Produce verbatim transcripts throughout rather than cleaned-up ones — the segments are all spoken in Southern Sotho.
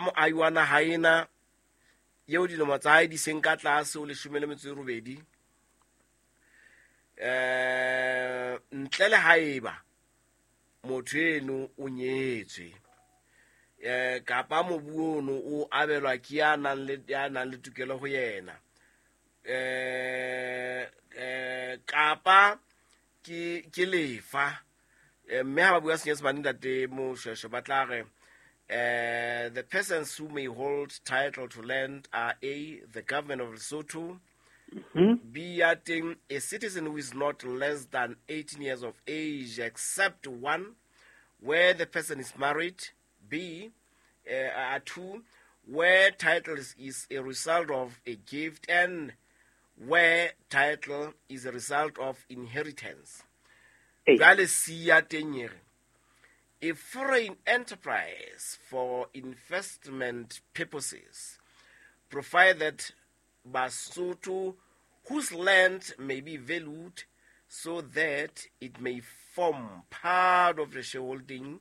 Moahi wa naha ena eo dilemo tsa hae di seng ka tlase ho leshome le metso e robedi, eh ntle le haeba motho eno o nyetswe, eh kapa mobu ono o abelwa ke ya nang le ya nang le tokelo ho yena, eh eh kapa ke ke lefa. Mme ha ba bua Senyesemane ntate Moshweshwe ba tla re, eh the persons who may hold title to land are A, the government of Lesotho, mm-hmm. B, ya teng, a citizen who is not less than eighteen years of age except one, where the person is married, B, uh, two, where title is, is a result of a gift, and where title is a result of inheritance. Jwale C ya teng e re, a foreign enterprise for investment purposes, provided Basotho whose land may be valued so that it may form part of the shareholding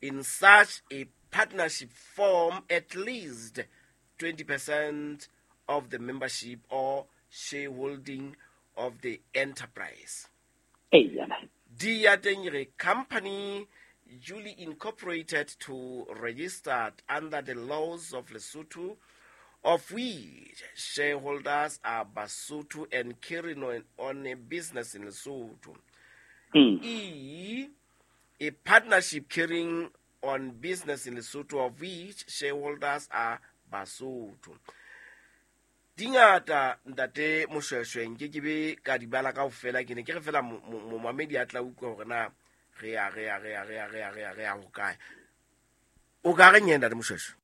in such a partnership form at least twenty percent of the membership or shareholding of the enterprise. Hey, yeah. D ya teng e re, company duly incorporated to registered under the laws of Lesotho, of which shareholders are Basotho and carrying on, on a business in Lesotho. Mm. E, a partnership carrying on business in Lesotho, of which shareholders are Basotho. Dingata ntate Moshweshwe nke ke be ka di bala kaofela, ke ne ke re fela momamedi a tla utlwa hore na re ya re ya re ya re ya re ya re ya re ya hokae. O ka reng yena ntate Moshweshwe?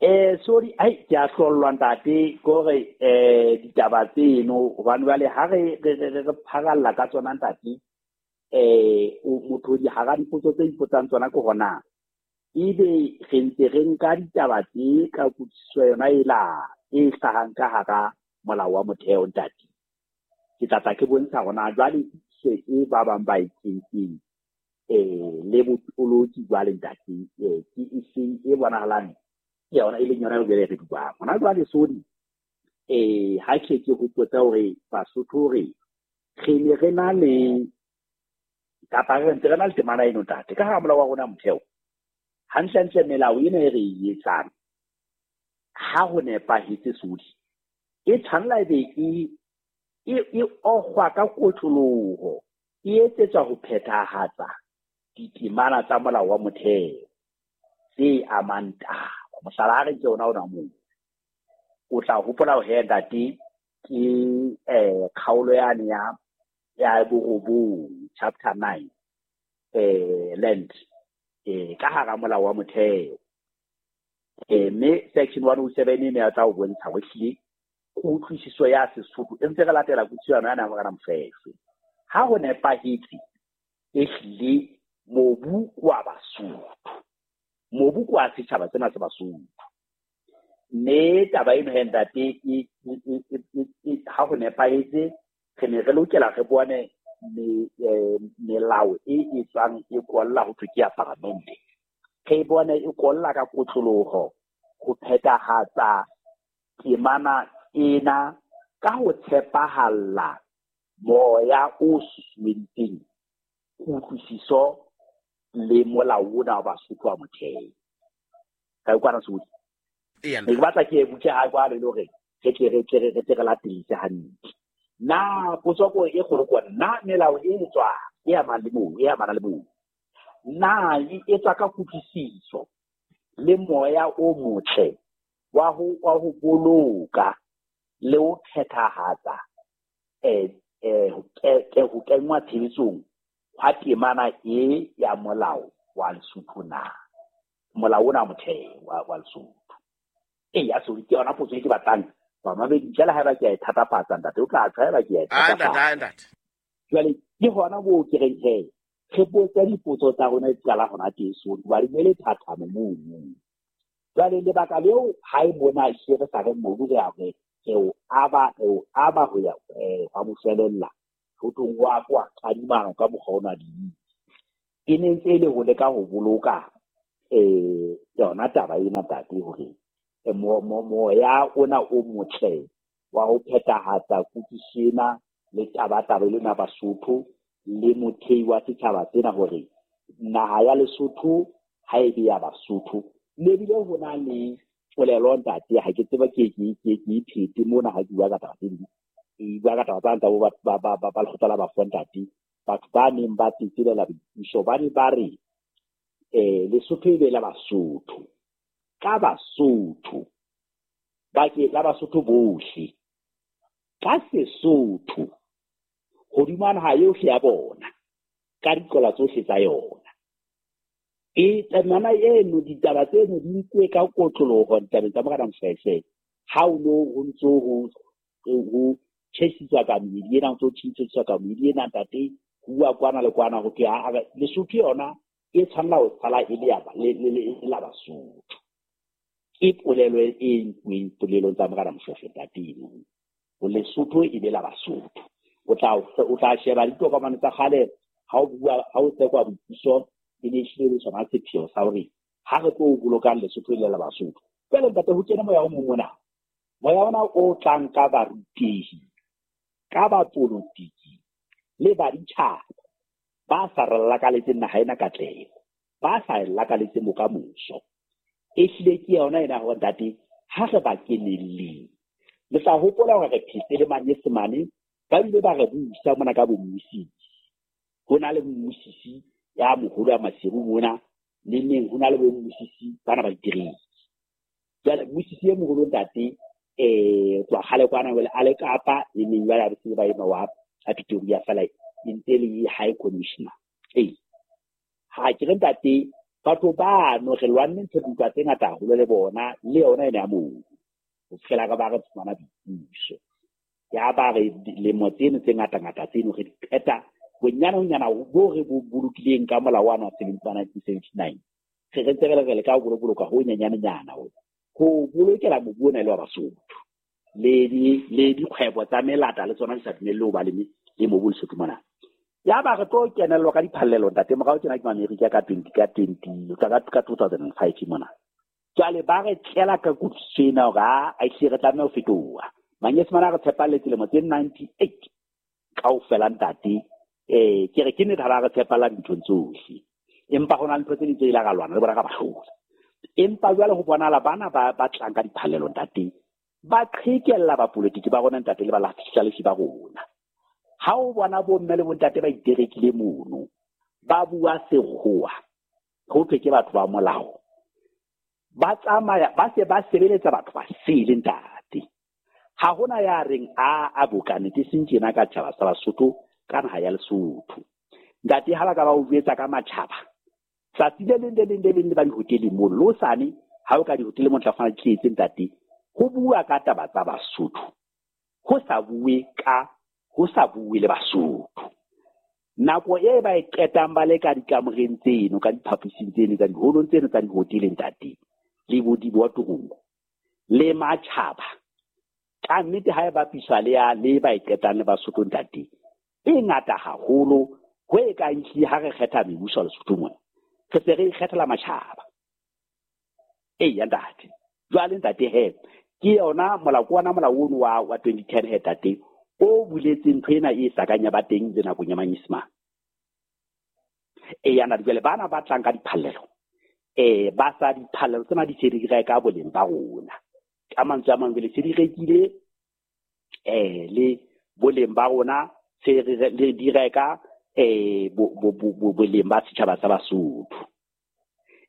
Eh sorry, ai ke a hlollwa ntate kore eh ditaba tseno hobane jwale ha re re re re pharalla ka tsona ntate, eh motho di hara dipotso tse ipotsang tsona ke hona ebe re ntse re nka ditaba tse ka kutlwisiso yona e la e hlahang ka hara molao wa motheo ntate. Ke tla tla ke bontsha hona jwale se e ba bang ba e kentseng eh le botoloki jwale ntate, eh ke e seng e bonahalang ke yona e leng yona eo re buang hona jwale. Sodi eh ha ke ke hopotsa hore Basotho re re ne re na le kapa re ntse re na le temana eno ntate ka hara molao wa rona motheo. Hantlentle melao ena e re e etsang ha ho nepahetse sodi e tshwanela ebe e e e okgwa ka kotloloho, e etsetswa ho phethahatsa ditemana tsa molao wa motheo tse amang taba. Mohlala ha re nke ona ona moo, o tla hopola hore ntate ke eh kgaolo yane ya ya borobong chapter nine eh land eh ka hara molao wa motheo, eh mme section one oh seven e ne ya tla o bontsha hore ehlile kutlwisiso ya Sesotho e ntse re latela kutlwisiso yona ya Morena Moshweshwe. Ha ho nepahetse ehlile mobu wa Basotho, mobu kwa setjhaba sena se Basotho, mme taba eno he ntate e ha ho nepahetse re ne re lokela re bone melao e e tswang e kolla ho thwe ke ya paramente, re bone e kolla ka kotloloho ho phethahatsa temana ena ka ho tshepahalla moya o susumeditseng kutlwisiso le molao ona wa Basotho wa motheo. Ka utlwana Sodi? Ee, ke batla ke e butse ha jwale le hore re tle re tle re tle re latedise hantle. Na potso ko e kgolo ke na melao e tswa e amang le moo, e amana le moo, na e etswa ka kutlwisiso le moya o motle wa ho wa ho boloka le ho phethahatsa eh eh ho kenngwa tshebetsong hwa temana e ya molao wa Lesotho na molao ona motheo wa wa Lesotho. E ya so ke yona potso e ke batlang bamamedi ntle le haeba ke a e thatafatsa ntate, o tla tshwa haeba ke a e thatafatsa. Jwale ke hona moo ke reng he re botse dipotso tsa rona di qala hona teng so hobane ne le thathamo mono. Jwale lebaka leo ha e mona hle re sa re mobu re a re re o aba re o aba ho ya hwa moshwelella ho tlong wa kwa kadimana ka mokgwa ona di e ne ntse e le ho leka ho boloka eh yona taba ena ntate hore moya ona o motle wa ho phethahatsa kutlwisiso ena le tabatabelo ena Basotho le mothei wa setjhaba sena hore naha ya Lesotho ha e be ya Basotho. Le bile ho na le polelo ntate, ha ke tseba ke ke ke ke iphete mona ha ke bua ka taba tse ding, e bua ka taba tsa ntate ba ba ba ba ba lekgotla la bafo ntate, batho ba neng ba tsetselela boipuso ba ne ba re eh Lesotho e be la Basotho, ka Basotho ba ke la Basotho bohle, ka Sesotho hodima naha yohle ya bona, ka diqola tsohle tsa yona. E temana eno ditaba tseno di nkuwe ka kotloloho ditabeng tsa Morena Moshoeshoe, ha o no ho ntso ho ho tjhesiswa ka meedi ena, ho ntso tjhesiswa ka meedi ena ntate, ho bua kwana le kwana ho thwe ha Lesotho yona e tshwanela ho sala e le ya le le la Basotho. Ke polelo e nkuweng polelong tsa Morena Moshoeshoe ntate eno, ho Lesotho e be la Basotho. O tla o tla sheba ditokomane tsa kgale ha o bua ha o tsekwa boipuso, e ne ehlile le sona sepheo sa hore ha re tlo bolokang Lesotho e le la Basotho. Jwale ntate ho kene moya o mong mona, moya ona o tlang ka barutehi, ka bapolotiki le baditjhaba ba sa re lakaletseng naha ena katleho, ba sa e lakaletseng bokamoso. Ehlile ke yona ena hore ntate ha re ba kenelleng. Le tla hopola hore re phetse le Manyesemane, ba bile ba re busa mona ka bommusisi. Ho na le mmusisi ya moholo wa Maseru mona, le neng ho na le bommusisi bana ba ditereke. Jwale mmusisi e moholo ntate eh tloha kgale kwana jwale a le Kapa, le neng jwale a se ba ema wa a Pretoria fela e ntse le high commissioner. Ee, ha ke re ntate batho bano re lwanne ntho dintwa tse ngata haholo le bona, le yona ena ya mobu ho fihlela ka ba re fumana boipuso. Ya ba re lemo tseno tse ngata-ngata tseno re di qeta bonyane honyana bo re bo bolokileng ka molao wa nineteen seventy-nine, re re ntse re le ka ho boloka ho nyanyanenyana ho ho bolokela mobu ona e le wa Basotho. Le di le dikgwebo tsa melata le tsona di sa dumelle ho ba le le mobu Lesotho mona. Ya ba re tlo kenellwa ka diphallelo ntate, morao tjena ke Amerika ka twenty ka twenty ka ka two thousand and five mona. Jwale ba re tlela ka kutlwisiso ena hore a ehlile re tlameha ho fetoha. Manyesemane a re tshepalletse lemo tse ninety-eight kaofela ntate. Eh ke re ke nnete ha ba re tshepalla dinthong tsohle, empa ho na le ntho tse ding tse ile ra lwana le bona ka ba hlola. Empa jwale ho bonahala bana ba ba tlang ka diphallelo ntate, ba qhekella bapolotiki ba rona ntate le ba lahlalefi ba rona. Ha o bona bomme le bontate ba iterekile mono, ba bua sekgowa, ho thwe ke batho ba molao, ba tsamaya ba se ba sebeletsa batho ba sele ntate. Ha hona ya reng a a bokane ke seng tjena ka tjhaba sa Basotho ka naha ya Lesotho. Ntate ha ba ka ba o jwetsa ka matjhaba, tsatsi le leng le leng le leng le ba dihoteleng mono, le hosane ha o ka dihoteleng mo tla fumana di tletse ntate, ho bua ka taba tsa Basotho, ho sa bue ka ho sa bue le Basotho. Nako e ba e qetang ba le ka dikamoreng tseno, ka diphaposing tseno, tsa diholong tseno tsa dihoteleng ntate, le bo dibotorong le matjhaba, ka nnete ha e bapiswa le ya le ba e qetang le Basotho ntate, e ngata haholo ho e kang ehlile ha re kgetha mebuso Lesotho mona, re se re ikgethela matjhaba. Eya ntate, jwale ntate he, ke yona molao ke ona molao ono wa wa twenty ten he ntate, o buletseng ntho ena e sa kang ya ba teng le nakong ya Manyesemane. Eya ntate, jwale bana ba tlang ka diphallelo, eh ba sa diphallelo tsena di se di reka boleng ba rona. Ka mantswe a mang jwale se di rekile eh le boleng ba rona, se re le di reka eh bo bo bo boleng ba setjhaba sa Basotho.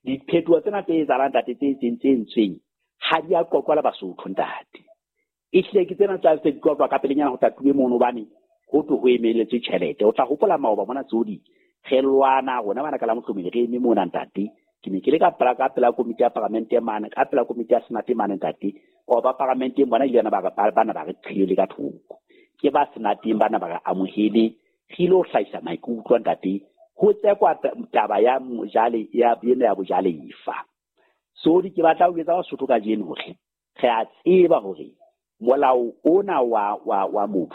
Diphetoho tsena tse etsahalang ntate tse etseng tse entsweng ha di a qoqwa le Basotho ntate. Ehlile ke tsena tsa se di qoqwa ka pelenyana ho tatuwe mono, hobane ho thwe ho emeletswe tjhelete. O tla hopola maoba mona tsodi re lwana rona bana ka la mohlomong re eme mona ntate. Ke ne ke le ka pela ka pela komiti ya paramente mane, ka pela komiti ya senate mane ntate. O ba paramenteng bona ile ba bana ba re qhele ka thoko. Ke ba senateng bana ba re amohele, re ilo hlahisa maikutlo ntate. Ho tsekwa taba ya mojale ya ena ya bojalefa. So di ke batla ho etsa Basotho kajeno hore re a tseba hore molao ona wa wa wa mobu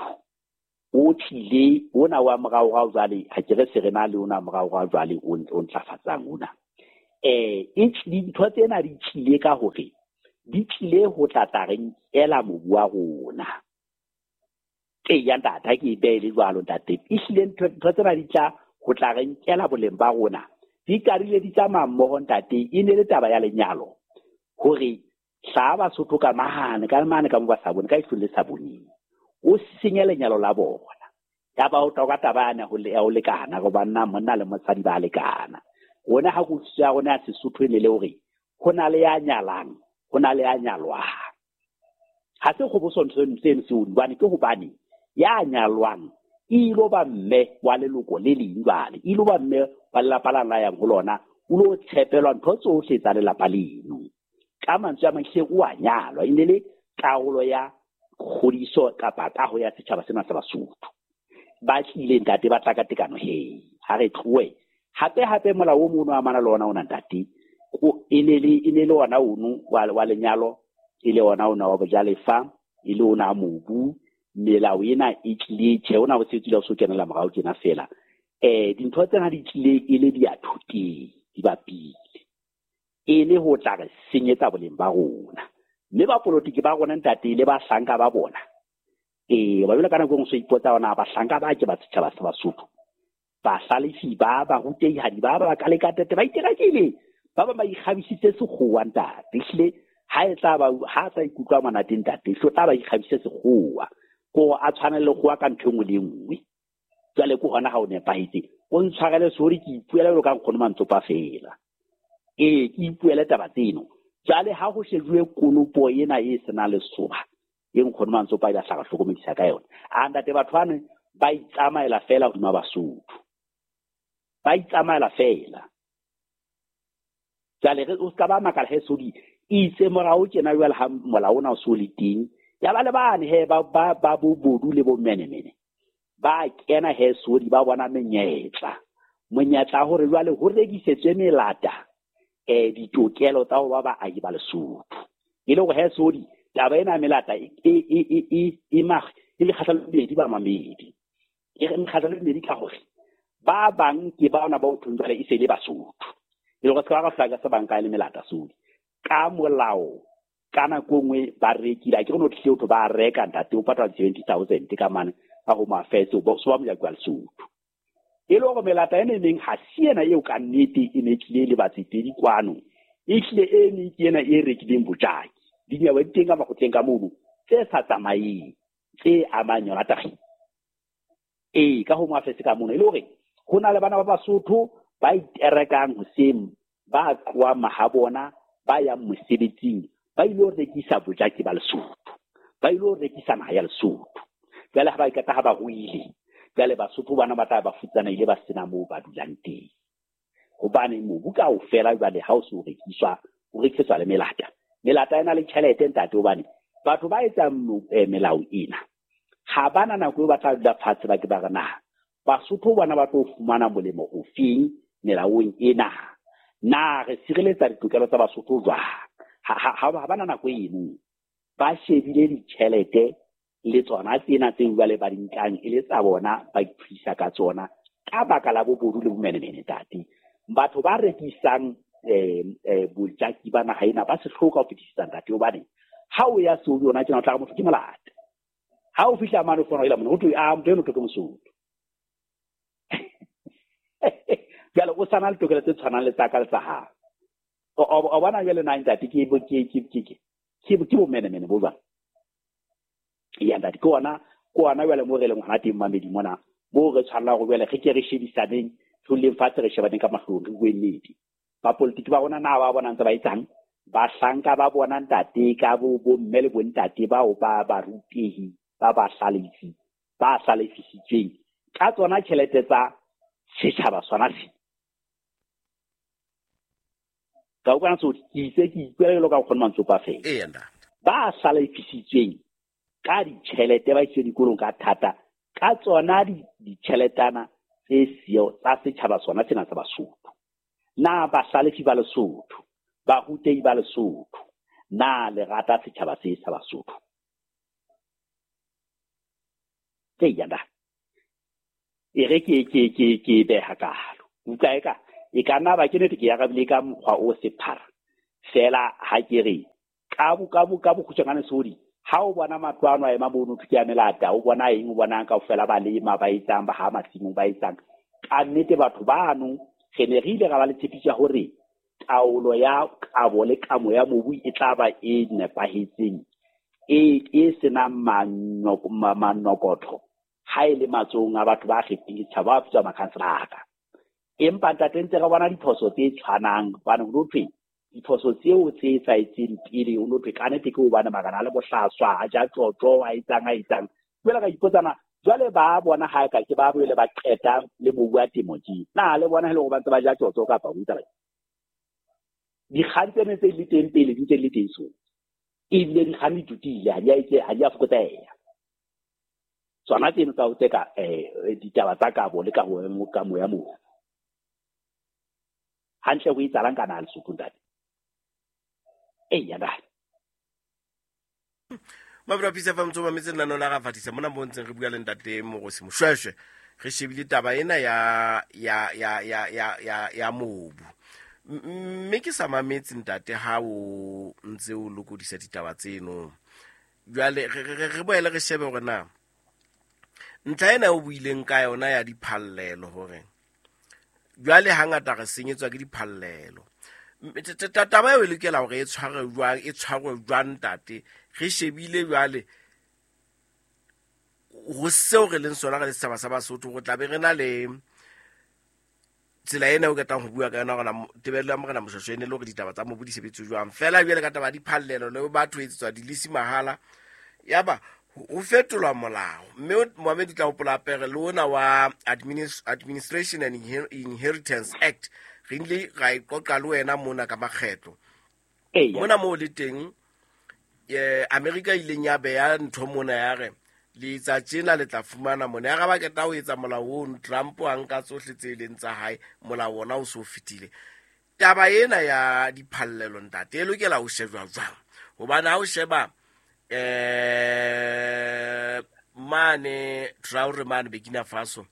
o tlile ona wa moraorao jwale, ha ke re se re na le ona moraorao jwale o o ntlafatsang ona. Eh e dintho tsena di tlile ka hore di tlile ho tla tla re nkela mobu wa rona. Eya ntate, ha ke e behe le jwalo ntate. Ehlile ntho ntho tsena di tla ho tla re nkela boleng ba rona. Di qadile di tsamaya mmoho ntate, e ne le taba ya lenyalo. Hore hlaha Basotho ka mane ka mane ka mo ba sa bone ka ihlong le sa boneng. O senye lenyalo la bona. Ya ba o tla ka taba yana ho le ya ho lekana go banna monna le mosadi ba lekana. Rona ha kutlwisiso ya rona ya Sesotho e ne le hore ho na le ya nyalang, ho na le ya nyalwang. Ha se kgoboso ntho seno seo hobane ke hobane ya nyalwang e ilo ba mme wa leloko le leng jwale, e ilo ba mme wa lelapa la la yang ho lona, o lo tshepelwa ntho tsohle tsa lelapa leno. Ka mantswe a mang hle o a nyalwa, e ne le karolo ya kgodiso kapa kaho ya setjhaba sena sa Basotho. Ba tlile ntate ba tla ka tekano he, ha re tlohe. Hape hape molao o mono amana le ona ona ntate, o e ne le e ne le ona ono wa wa lenyalo, e le ona ona wa bojalefa, e le ona mobu. Melao ena e tlile tjhe, ona o setse o so kenela morao tjena fela. Eh dintho tsena di tlile e le di a thoteng, di bapile. E le ho tla re senyetsa boleng ba rona. Mme bapolotiki ba rona ntate le bahlanka ba bona. Eh ba jwale ka nako e nngwe so ipotsa ona bahlanka ba ke ba setjhaba sa Basotho. Bahlalefi ba barutehadi ba ba ka lekatete ba iterakile. Ba bang ba ikgabisitse sekgowa ntate. Ehlile ha e tla ba ha sa ikutlwa monate ntate, hlo tla ba ikgabise sekgowa. Ko a tshwane le kgowa ka ntho e nngwe le e nngwe. Jwale ke hona ha o nepahetse. O ntshwarele sorry ke ipuela jwalo ka nkgono Mantsopa fela. Ee, ke ipuele taba tseno. Jwale ha ho shejuwe konopo ena e senang lesoba, e nkgono Mantsopa ile a hlaka hlokomedisa ka yona. A ntate batho bano ba itsamaela fela hodima Basotho. Ba itsamaela fela. Jwale re o ska ba makala he sodi itse morao tjena jwale ha molao ona o so le teng. Ya ba le bane he ba ba ba bobodu le bo menemene. Ba kena he sodi ba bona menyetla. Monyetla hore jwale ho rekisetswe melata eh ditokelo tsa ho ba baahi ba Lesotho. E le hore he sodi taba ena melata e e e e e mag e le kgahlano le bedi ba mamedi. E re kgahlano le bedi ka hore ba bang ke ba ona ba o thong jwale e se le Basotho. E le hore se ba ka hlaka se bang ka le melata sodi. Ka molao ka nako nngwe ba rekile, a ke re no tlile ho ba reka ntate o patala seventy thousand ka mane ka Home Affairs o so ba mojaki wa Lesotho. E le hore melata ena e meng ha se ena eo ka nnete e ne tlile le batsetedi kwano. E hlile e neng ke ena e rekileng bojaki. Dinyewe di teng ka makgotleng ka mono tse sa tsamaeng tse amang yona taba. Ee, ka Home Affairs ka mono e le hore ho na le bana ba Basotho ba iterekang hoseng, ba tlohang mahabona, ba yang mosebetsing, ba ilo rekisa bojaki ba Lesotho, ba ilo rekisa naha ya Lesotho. Jwale ha ba ikata ha ba ruile, jwale Basotho bana ba tla ba futsanehile ba sena moo ba dulang teng. Hobane mobu kaofela jwale ha o se o rekiswa, o rekisetswa le melata. Melata ena le tjhelete ntate, hobane batho ba etsang melao ena ha bana nako eo ba tla dula fatshe ba ke ba re na Basotho bana ba tlo fumana molemo ofeng melaong ena, na re sireletsa ditokelo tsa Basotho jwang? Ha ha ha bana nako eno, ba shebile ditjhelete le tsona tsena tse jwale ba di nkang e le tsa bona, ba iphedisa ka tsona ka baka la bobodu le bomenemene ntate. Batho ba rekisang eh eh bojaki ba naha ena ba se hloka ho fetisisa ntate, hobane ha o ya so yona tjena o tla re motho ke molata. Ha o fihla mane o fona ela mone ho thwe a motho eno ke Mosotho. Jwale o sana le tokelo tse tshwanang le tsa ka le tsa hao. O o bona jwale na ntate ke bo ke ke ke ke ke ke bomenemene bo jwang. Ya ntate ke ona ke ona jwale mo re leng hona teng mamedi mona mo re tshwanela hore jwale re ke re shebisaneng, re leng fatshe re shebaneng ka mahlong re bue nnete. Bapolitiki ba rona na ba bona ntse ba etsang, bahlanka ba bona ntate ka bo bo mme le bontate bao ba barutehi ba ba hlalefi ba hlalefisitsweng ka tsona tjhelete tsa setjhaba sona se. Ka utlwana so ke itse ke ikuela jwalo ka nkgono Mantsopa fela. Ee, ntate. Ba hlalefisitsweng ka ditjhelete ba isitswe dikolong ka thata ka tsona ditjheletana tse siyo tsa setjhaba sona sena sa Basotho. Na bahlalefi ba Lesotho, barutehi ba Lesotho, na le rata setjhaba se sa Basotho? Ke ya ntate. E re ke ke ke ke beha kalo. Utlwa eka E ka nna ba ke nete ke arabile ka mokgwa o sephara fela ha ke re ka bo ka bo ka bokgutshwanyane sodi ha o bona matlo ano a ema mono ke a melata o bona eng o bonang kaofela ba lema ba etsang ba ha masimong ba etsang ka nnete batho bano re ne re ile ra ba le tshepiso ya hore taolo ya kabo le kamo ya mobu e tla ba e nepahetseng e e senang manokotho ha e le matsohong a batho ba kgethileng setjhaba ba bitswa makhanselara. Empa ntate ntse re bona diphoso tse tshwanang hobane ho thwe diphoso tseo tse etsahetseng pele o no thwe ka nnete ke hobane marena a le bohlaswa a ja tjotjo a etsang a etsang. Jwale ka ipotsana jwale ba bona ha ka ke ba boele ba qeta le mobu wa temo tje na le bona hele hore ba ntse ba ja tjotjo kapa ho etsa dikgang tsene tse le teng pele di ntse le teng so ebile dikgang di tutile ha di a etse ha di a fokotseha tsona tseno tsa ho tseka eh ditaba tsa kabo le ka ho ka moya mobu hantle ho etsahalang ka naha Lesotho ntate e ya ntate Mabra Pisa fa motho ba metse nna la ga fatisa mona mo ntseng re bua le ntate Mogosi Moshoeshoe re shebile taba ena ya ya ya ya ya ya ya mobu mme ke sa mametse ntate ha o ntse o lokodisa ditaba tseno jwale re boele re shebe hore na ntlha ena o buileng ka yona ya diphallelo hore jwale hangata re senyetswa ke diphallelo taba eo e lokela hore e tshwarwe jwang e tshwarwe jwang ntate re shebile jwale ho seo re leng sona re le setjhaba sa Basotho go tla be re na le tsela ena o ketang ho bua ka yona hore tebello ya morena Moshoeshoe ne le hore ditaba tsa mobu di sebetse jwang fela jwale ka taba diphallelo le batho etsetswa dilisi mahala yaba ho fetolwa molao mme Mohammed o tla hopola pere le ona wa Administration and Inheritance Act re ile ra iqoqa le wena mona ka makgetlo mona moo le teng eh America ileng ya beya ntho mona ya re le etsa tjena le tla fumana mona ya ba keta ho etsa molao ono Trump a nka tsohle tse leng tsa hae molao ona o so fetile taba ena ya diphallelo ntate e lokela ho shejwa jwang hobane ha o sheba eh mane Traore mane Burkina Faso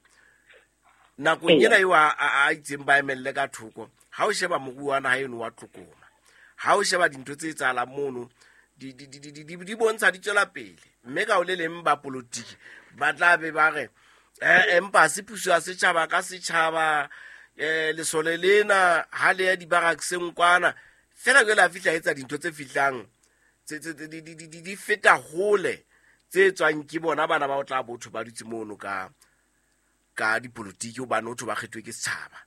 nakong ena eo a itseng ba emelle ka thoko ha o sheba moruo wa naha eno wa tlokoma ha o sheba dintho tse etsahalang mono di di di di di bontsha di tswela pele mme ka o le leng ba politiki ba tla be ba re eh empa se puso ya setjhaba ka setjhaba eh lesole lena ha le ya dibarakseng kwana fela jwale a fihla etsa dintho tse fihlang tse tse di di di di feta hole tse tswang ke bona bana ba o tla botho ba dutse mono ka ka dipolitiki hobane o ba kgethwe ke setjhaba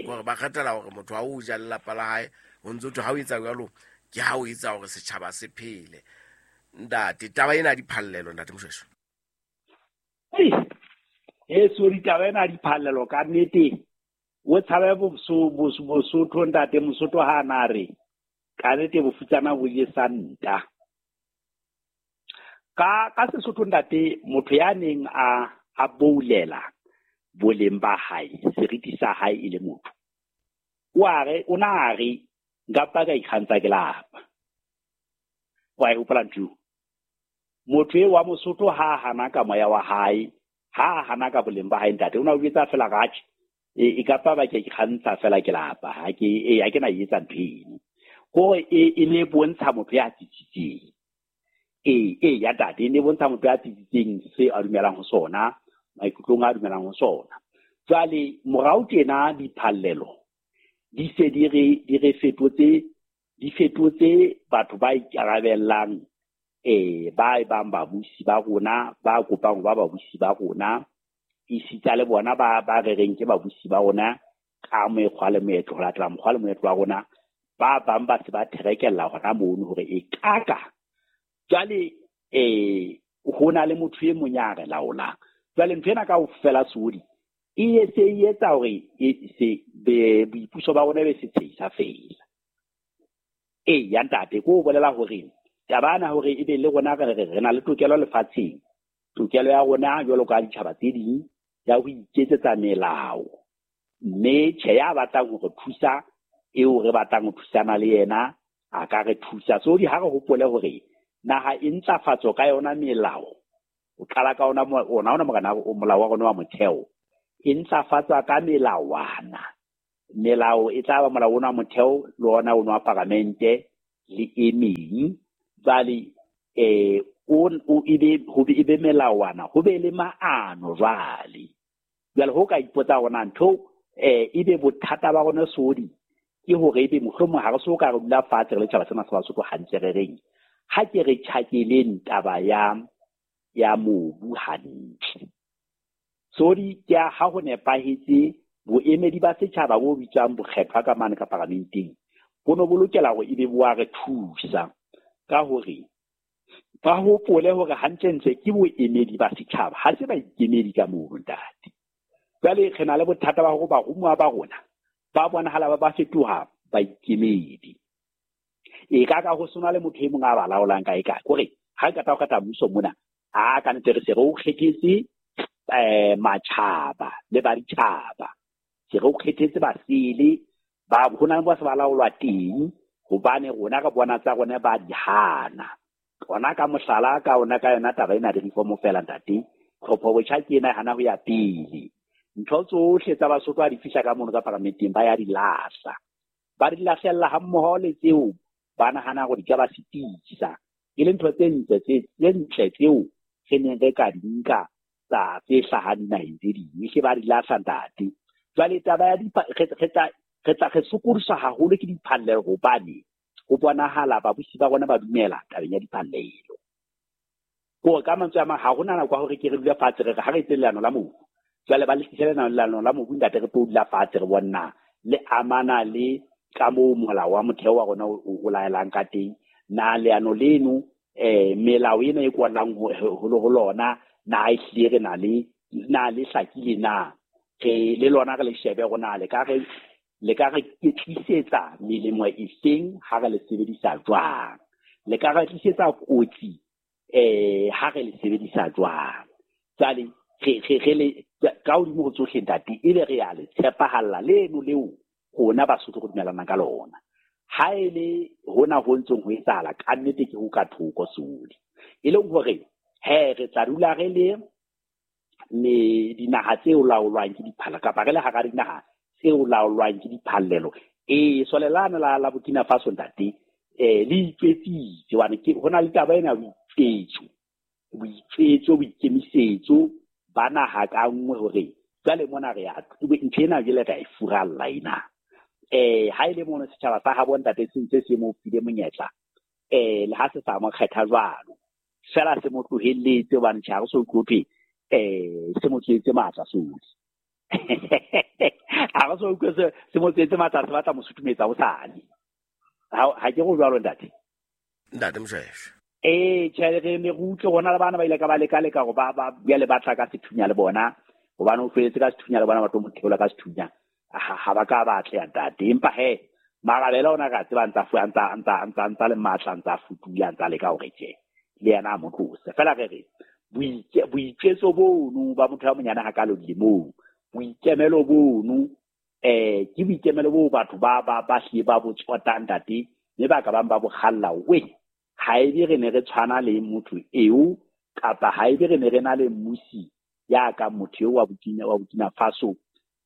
hore ba kgethela hore motho ha o ja lelapa la hae o ntso thwe ha o etsa jwalo ke ha o etsa hore setjhaba se phele ntate taba ena diphallelo ntate Moshoeshoe e sorry taba ena diphallelo ka nnete o tshabe Bosotho ntate Mosotho ha na re ka nnete bofutsana bo je santa ka ka Sesotho ntate motho ya neng a a boulela boleng ba hae seriti sa hae e le motho o a re o na re nka pa ka ikgantsha ke lapa wa e hopola ntho motho e wa Mosotho ha hana ka moya wa hae ha hana ka boleng ba hae ntate o na o etsa fela ratjhe e ka pa ba ke ikgantsha fela ke lapa ha ke e ha ke na etsa ntho eno hore e e ne bontsha motho ya tsitsitseng e e ya ntate e ne bontsha motho ya tsitsitseng se a dumelang ho sona maikutlong a dumelang ho sona jwale morao tjena diphallelo di se di re di re fetotse di fetotse batho ba ikarabellang eh ba bang babusi ba rona ba kopang ba babusi ba rona isitsa le bona ba ba rereng ke babusi ba rona ka mekgwa le meetlo ho latela mokgwa le moetlo wa rona ba bang ba se ba therekella hona mono hore e kaka jwale eh ho na le motho e mong ya re laolang jwale ntho ena kaofela sodi e se e etsa hore e se be boipuso ba rona be se tshehisa fela e ya ntate ko bolela hore taba na hore ebe le rona re re na le tokelo lefatsheng tokelo ya rona jwalo ka ditjhaba tse ding ya ho iketsetsa melao mme tjhe ya batlang hore thusa eo re batlang ho thusana le yena a ka re thusa so di ha re hopole hore naha e ntlafatso ka yona melao o qala ka ona ona ona morena o molao wa rona wa motheo e ntlafatswa ka melawana Melao e tla ba molao ona wa motheo le ona ono wa paramente le e meng. Jwale eh o o ebe ho be ebe melawana ho be le maano jwale. Jwale ho ka ipotsa hore na ntho eh ebe bothata ba rona sodi ke hore ebe mohlomong ha re so ka re dula fatshe re le tjhaba sena sa Basotho hantle re reng ha ke re tjhakeleng taba ya ya mobu hantle. Sodi ke ha ho nepahetse boemedi ba setjhaba bo bitswang bokgethwa ka mane ka paramenteng bo no bo lokela hore ebe bo a re thusa ka hore ba hopole hore hantlentle ke boemedi ba setjhaba ha se baikemedi ka mono ntate. Jwale re na le bothata ba hore barumuwa ba rona ba bonahala ba ba fetoha baikemedi. E ka ka ho sona le motho e mong a ba laolang kae kae kore ha ka ta o kata mmuso mona a ka ntse re se re o kgethetse eh matjhaba le ba ditjhaba se re o kgethetse basele ba hona le ba se ba laolwa teng hobane rona re bona tsa rona ba di hana. Ona ka mohlala ka ona ka yona taba ena di reform fela ntate tlhopho botjha ke ena hana ho ya pele. Ntho tsohle tsa Basotho ha di fihla ka mono ka paramenteng ba ya di lahla. Ba di lahlella ha mmoho le tseo ba nahana hore di ka ba sitisa. E le ntho tse ntle tse tse ntle tseo re neng re ka di nka tsa tse hlahang dinaheng tse ding hle ba di lahla ntate. Jwale taba ya re tla re tla re sokodiswa haholo ke diphallelo hobane ho bonahala babusi ba rona ba dumela tabeng ya diphallelo. Ko ka mantswe a mang ha hona nako ya hore ke re dule fatshe re re ha re etse leano la mobu. Jwale ba le tlisele leano la mobu ntate re tlo dula fatshe re bona le amana le ka moo molao wa motheo wa rona o laelang ka teng. Na leano leno eh melao ena e kwalang ho ho lona na e hlile re na le na le hlakile na re le lona re le shebe rona le ka re le ka re tlisetsa melemo e feng ha re le sebedisa jwang, le ka re tlisetsa kotsi eh ha re le sebedisa jwang. Jwale re re re le ka hodimo ho tsohle ntate ebe re ya le tshepahalla leno leo rona Basotho re dumelana ka lona. Ha e le hona ho ntsong ho etsahala ka nnete ke ho ka thoko sodi e leng hore he re tla dula re le me dinaha tse laolwang ke diphala kapa re le hara dinaha tse laolwang ke diphallelo. E solelana la la Burkina Faso ntate eh le itswetsitse hobane ke hona le taba ena boitsetso boitsetso boikemisetso ba naha ka nngwe hore jwale mona re ya ntho ena jwale re a e furalla ena. Eh ha ile mono setjhaba sa habo ntate se ntse se mo file monyetla eh le ha se sa mo kgetha jwalo fela se mo tlohelletse hobane tjha re so utlwe eh se mo tswetse matla sodi ha re so utlwe se se mo tswetse matla se batla mo sutumetsa ho sane ha ha ke go jwalo ntate ntate Moshoeshoe. Eh tjhe re ne re utlwe rona le bana ba ile ka ba leka leka go ba ba bjale ba tla ka sethunya le bona hobane o feletse ka sethunya le bona ba tlo mo theola ka sethunya ha ba ka ba atleha ntate. Empa he marabela ona ka tseba ntsa fu ntsa ntsa ntsa ntsa le matla ntsa futula ntsa leka hore tje le yena a mo tlose fela re re boitsetso bono ba motho ya monyane ha ka lo dilemong boikemelo bono eh ke boikemelo bo batho ba ba ba hle ba bo tsotang ntate mme ba ka bang ba bo kgalla we ha ebe re ne re tshwana le motho eo kapa ha ebe re ne re na le mmusi ya ka motho eo wa Burkina wa Burkina Faso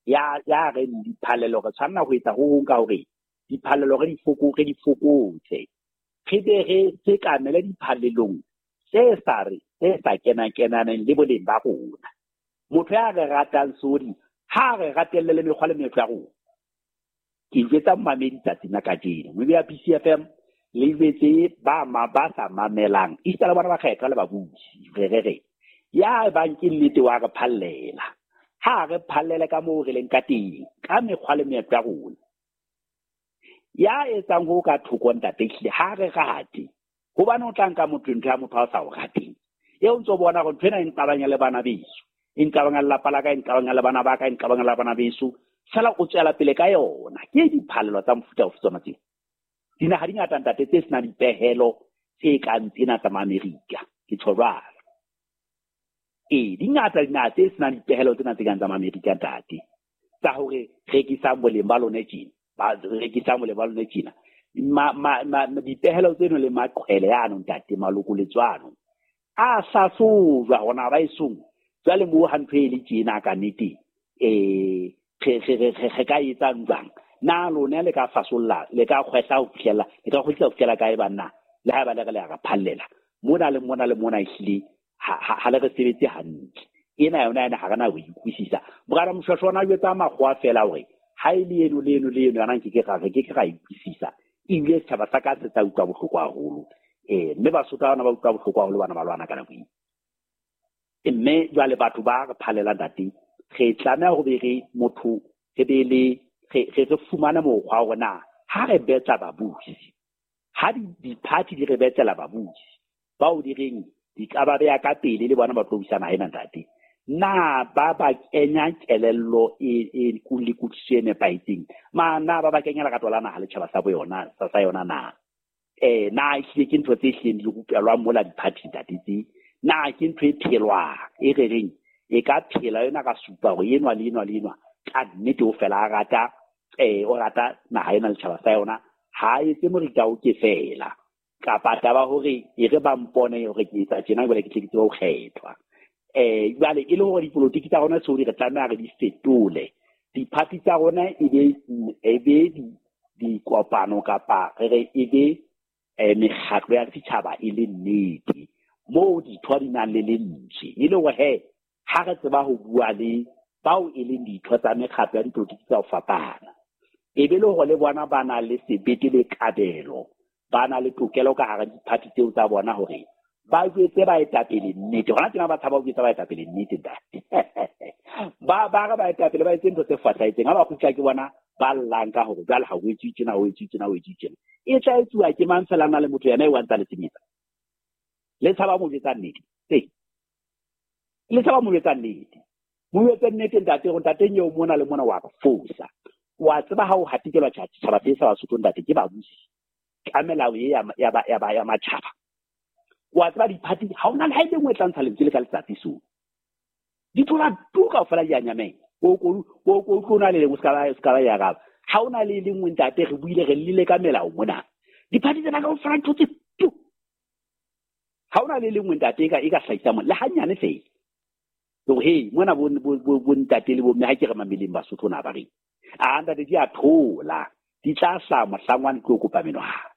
ya ya re diphallelo re tshwanela ho etsa ho hong ka hore diphallelo re di foko re di fokotse re be re sekamele diphallelong tse sa re tse sa kenang kenaneng le boleng ba rona. Motho ya re ratang sodi ha re ratelle le mekgwa le meetlo ya rona. Ke jwetsa mmamedi tsatsing la kajeno mme ya P C F M le jwetse ba ma ba sa mamelang esita le bona ba kgethwa le babusi re re re ya bang ke nnete wa re phallela ha re phallele ka moo re leng ka teng ka mekgwa le meetlo ya rona. Ya etsang ho ka thoko ntate hlile ha re rate hobane o tla nka motho ntho ya motho a sa o rateng eo ntso bona hore ntho ena e nqabanya le bana beso e nqabanya le lapa la ka e nqabanya le bana ba ka e nqabanya le bana beso fela o tswela pele ka yona. Ke diphallelo tsa mofuta ofe tsona tseo? Dinaha di ngata ntate tse senang dipehelo tse kang tsena tsa Maamerika ke tjho jwalo. E di ngata dinaha tse senang dipehelo tsena tse kang tsa Maamerika ntate tsa hore rekisang boleng ba lona tjena ba rekisang boleng ba lona tjena ma ma dipehelo tseno le maqhwele ano ntate malokoletso ano a hlahlojwa hona ba esong jwale moo ha ntho e le tjena ka nnete eh re re re re ka etsang jwang na lona le ka fasolla le ka kgwehla ho fihlela le ka kgwehla ho fihlela kae banna le ha ba le re le a re phallela mona le mona le mona ehlile ha le re sebetse hantle ena yona ena ha re na ho ikutlwisisa morana Moshweshwe ona jwetsa makgowa fela hore ha e le eno le eno le eno yona nke ke ra re ke ke ra ikutlwisisa ebile setjhaba sa ka se tla utlwa bohloko haholo eh mme Basotho bana ba utlwa bohloko haholo bana ba lwana ka nako e mme jwale batho ba re phalela ntate re tlameha ho be re motho re be le re re fumane mokgwa wa rona ha re betla babusi ha di-party di re betlela babusi bao di reng di ka ba beya ka pele le bona ba tlo busa naha ena ntate na ba ba kenya kelello e e le kutlwisiso e nepahetseng ma na ba ba kenya lerato la naha le tjhaba sa bo yona sa sa yona na eh na ehlile ke ntho tse hlileng di rupelwang mola di-party ntate tse na ke ntho e phelwang e re reng e ka phela yona ka supa hore enwa le enwa le enwa ka nnete o fela a rata eh o rata naha ena le tjhaba sa yona ha etse morita o ke fela kapa taba hore e re ba mpone hore ke etsa tjena jwale ke tle ke tsebe ho kgethwa eh jwale e le hore dipolotiki tsa rona tseo di re tlameha re di fetole di-party tsa rona e be e be dikopano kapa re re e be mekgatlo ya setjhaba e le nnete moo ditho di nang le lentswe e le hore he ha re tseba ho bua le bao e leng ditho tsa mekgatlo ya dipolotiki tsa ho fapana e be le hore le bona ba na le sebete le kabelo ba na le tokelo ka hara di-party tseo tsa bona hore ba jwetse baetapele nnete hona tjena ba tshaba ho jwetsa baetapele nnete ntate ba ba re baetapele ba etse ntho tse fosahetseng ha ba kgutla ke bona ba llang ka hore jwale ha o etswe tjena o etswe tjena o etswe tjena e tla etsuwa ke mang fela na le motho yena e wa ntsa le sebetsa le tshaba mo jwetsa nnete ee le tshaba mo jwetsa nnete mo jwetse nnete ntate hore ntate eo mona le mona wa re fosa wa tseba ha o hatikelwa tjhaba se sa Basotho ntate ke babusi ka melao e ya ya ya ya matjhaba wa tseba di-party ha ona le ha e le nngwe e tla ntsha lentswe le ka letsatsi so di thola tu kaofela di a nyamela o ko o ko o na le lengwe se ka ba se ka ba ya raba ha ona le le nngwe ntate re buile re llile ka melao mona di-party tsena kaofela di thotse tu ha ona le le nngwe ntate e ka e ka hlahisa mona le hanyane fela hore hey mona bo bo ntate le bo mme ha ke re mameleng Basotho na ba reng a ntate di a thola di tla hlaha mohlangwane tlo kopa menwana